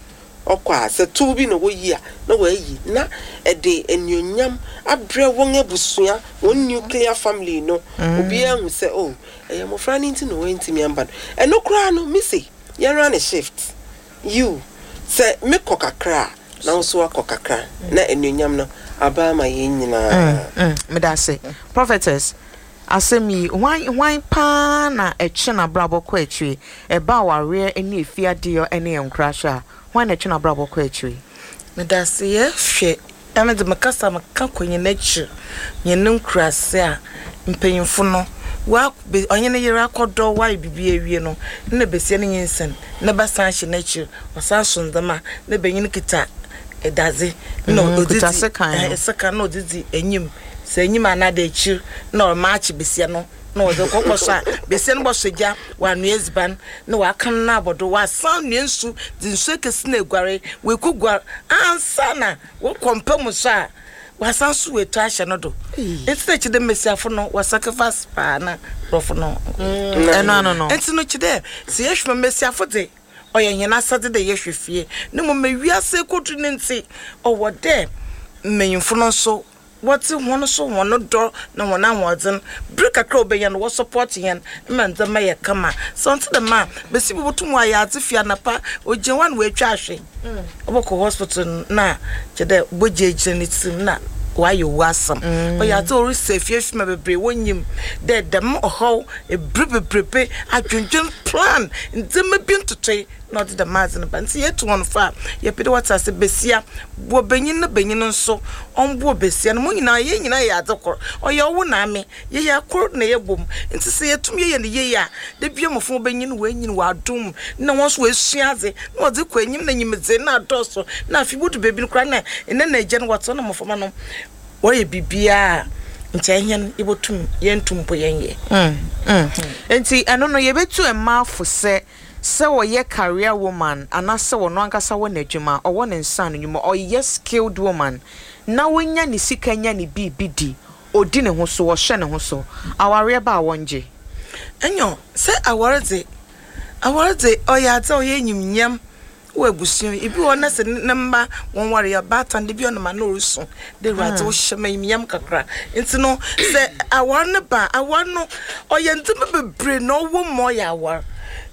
Ɔkɔ a, sɛ tow bi na woyi a, na wayi, na ɛde anuonyam abrɛ wɔn abusua, wɔn nuclear family no. Obiara ahu sɛ, oh, ɛyɛ mmofra no nti na wɔantumi amba no. Ɛno koraa no, mise, yɛnra no shift. Yiw, sɛ mekɔ kakra a, na wo nso woakɔ kakra, na anuonyam no aba ama yɛn nyinaa. Meda ase. Prophetess, asɛm yi, hwan hwan paa na ɛtwe n'abrabɔ kɔ akyiri? Ɛba awareɛ ne efie adeyɔ ne nkorahyɛ a, hwan na ɛtwe n'abrabɔ kɔ akyiri? Meda ase. Yɛhwɛ, ɛno de mekasa meka kɔ yɛn akyir, hɛn nkuraase a, mpanyimfo no, wɔak be ɔnye ne yer akɔdɔ, wɔayɛ biribi ewie no, nna basia no nyinsen, ne ba san hyɛ n'ekyir, ɔsan so ndzɛmba, na banyin kitsa dadze na ɔdze Kitsa dzi sekan no. ɛhɛn sekan na ɔdze dzi enyim, sɛ enyim anaadɛ ekyir, na ɔremaakye basia no. Na wɔdze kɔ kɔsɔ a, basia no bɔsɔ gya, ɔanoa edziban, na ɔaka no abɔ do, ɔasan anoa nsu, dze nsu ekesi no eguare, oekoguar ansaana wɔkɔ mpa mu so a, ɔasan so oetu ahyɛ no do. Ntsi na kyerɛ dɛ mbasiafo no wɔ sacrifice paa na borɔfo no. Ɛno ano no. Ntsi no kyerɛ dɛ sɛ yɛhwɛ mu a, mbasiafo dze, ɔyɛ hɛn asɛdze dɛ yɛhwɛ fie, na mbom ma wiase ekodu no ntsi, ɔwɔ dɛ mbanyimfo no so wɔdze hɔn so hɔn dɔ na hɔn ahoɔdzen, ber kakra a wobenya no wɔ support hɛn ma ndzɛmba yɛ kama. Sɛ ɔnntse dɛm a, basia bi botum ɔayɛ adze fi anapa, ogyina hɔ a na oetwa ahwe, ɔbɔkɔ hospital no na kyerɛ dɛ bɔgya egyina ne tsir mu na ɔayɛ owu asɛm. Ɔyɛ adze a orisi efiefie ma beberee wonnyim dɛ dɛm ɔhaw, ber beberebe, adwendwen, plan, ndzɛmba bi ntotoe na ɔdze dɛm adze no ba. Ntsi yetu hɔn fo a, yɛpɛ dɛ wɔtse ase, basia boa banyin na banyin so ɔmboa basia no. Hɔn nyina, hɛn nyina yɛ adze kor. Ɔyɛ ɔwo na ame, yɛyɛ kor na yɛbɔ mu. Ntsi sɛ yetum yɛyɛ no yie a, da biara mbofra wobenyin, woenyin wɔ adom mu na hɔn so woesua adze na wɔdze kɔ enyim na nyimdzee no adɔɔ so na afei wodu beebi no koraa na enã na egya no wɔtse hɔ na mboframba no wɔyɛ biribiara a nkyɛ hɛn yebotum yenntum mpo yɛnnyɛ. Ntsi ɛno no yebetu mmaa fo sɛ. Sɛ ɔyɛ career woman anaasɛ ɔno ankasa wɔ n'adwuma, ɔwɔ ne nsa ano nnwuma, ɔyɛ skilled woman na ɔnya ne sika nya ne biribi di, ɔdi ne ho so, ɔhyɛ ne ho so, awareɛ ba a wɔngye? Nyew, sɛ awar dze, awar dze ɔyɛ adze a ɔyɛ enyimnyam wɔ ebusua mu. Bi wɔ hɔ na sɛ ne mba wɔnnwaree a, ɔbaatan da bi a ɔnam a na orusu dɛ Ewuradze wo hyɛ me enyimnyam kakra. Ntsi no sɛ awar no ba a, awar no ɔyɛ ndzɛmba beberee na ɔwɔ mu ma ɔyɛ awar.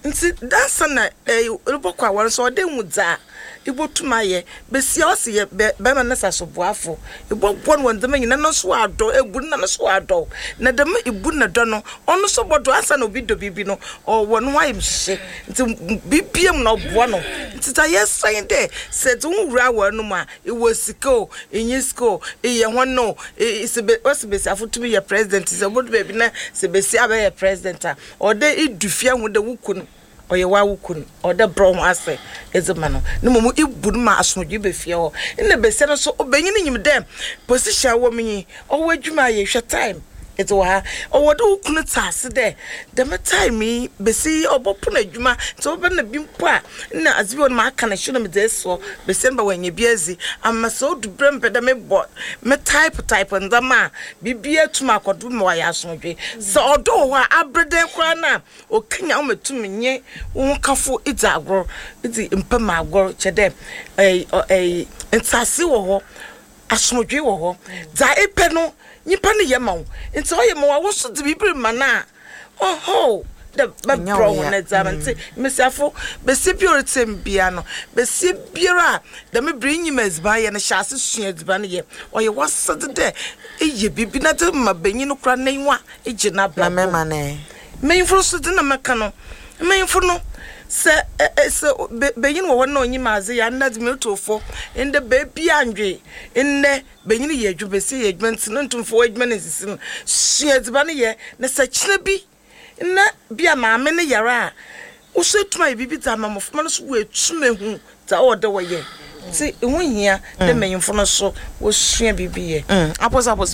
Ntsi ansaana erobɔkɔ awar no so ɔwɔ dɛ ehu dza ibotum ayɛ. Basia ɔse yɛ bɛ bɛrima no sasoboafo. Ebɔboa no wɔ ndzɛmba nyina no so ɔadɔ, ebu no na no so ɔadɔ wo. Na dɛm ibu na dɔ no, ɔno so bɔdɔ ansaana obi dɔ biribi no, ɔwɔ no ho ayamuhyehye. Ntsi biribiara mu no ɔboa no. Ntsi dza yɛsrɛ nye dɛ, sɛ edze woho wura awar no mu a, ewɔ sika o, innyi sika o, eyɛ hɔn o, sɛ be wɔse basiafo tum yɛ president, sɛ obodu beebi na sɛ basia abɛyɛ president a, ɔwɔ dɛ idu fie hu dɛ wo kun ɔyɛ w'awo kun, ɔwɔ dɛ ebrɛ woho ase edze ma no, na mbom ibu no ma asomdwee ba fie hɔ. Nna basia no so, obanyin nyim dɛ position a ɔwɔ mu yi, ɔwɔ edwuma ayɛ, hwɛ time edze wɔ ha. Ɔwɔ dɛ wo kun tse ase dɛ dɛm time yi, basia yi ɔbɔpon edwuma, ntsi ɔbɛba na bi mpo a nna adze bi wɔ hɔ no maka no hyew na medze esi hɔ, basia no ba oenya bi edzi, ama sɛ odu ber a mepɛ dɛ mobɔ, me type type ndzɛmba a, biribiara tum akɔ do ma ɔayɛ asomdwee. Sɛ ɔdɔ wɔ hɔ a, aber dɛn koraa no a, Okenyan wo ma etum nye wo hokafo dzi agor, dzi mpa mu agor, kyerɛ dɛ ntseasee wɔ hɔ, asomdwee wɔ hɔ. Dza epɛ no, nyimpa no yɛ ma wo, ntsi ɔyɛ ma wo a, wo so dze biribi rema no a, oho, dɛ bɛbrɛ wo hɔn dze ama. Ntsi mbasiafo, basia biara a oritsie me biara no, basia biara a dɛm ber yi inyim edziban yɛ no, hyɛ ase sua edziban yɛ. Ɔyɛ w'asɛdze dɛ eyɛ biribi na edze ma banyin no koraa n'enyiwa gye n'abrabɔ mu. Mbanyimfo no so dze na mɛka no, mbanyimfo no, sɛ sɛ banyin wɔ hɔ na onyim adze yɛ a, ndɛ dze merotow fo, ndɛ beebi anndwe, ndɛ banyin yɛ edwuma, basia yɛ edwuma ntsi no nntum mfa w'edwuma no nnsisi no, sua edziban yɛ na sɛ kyena bi na bi a maame no yar a, wo so etum ayɛ biribi dze ama mboframba no so woetum ehu dza ɔwɔ dɛ wɔyɛ. Ntsi ho hia dɛ mbanyimfo no so wosua biribi yɛ. Apos apos.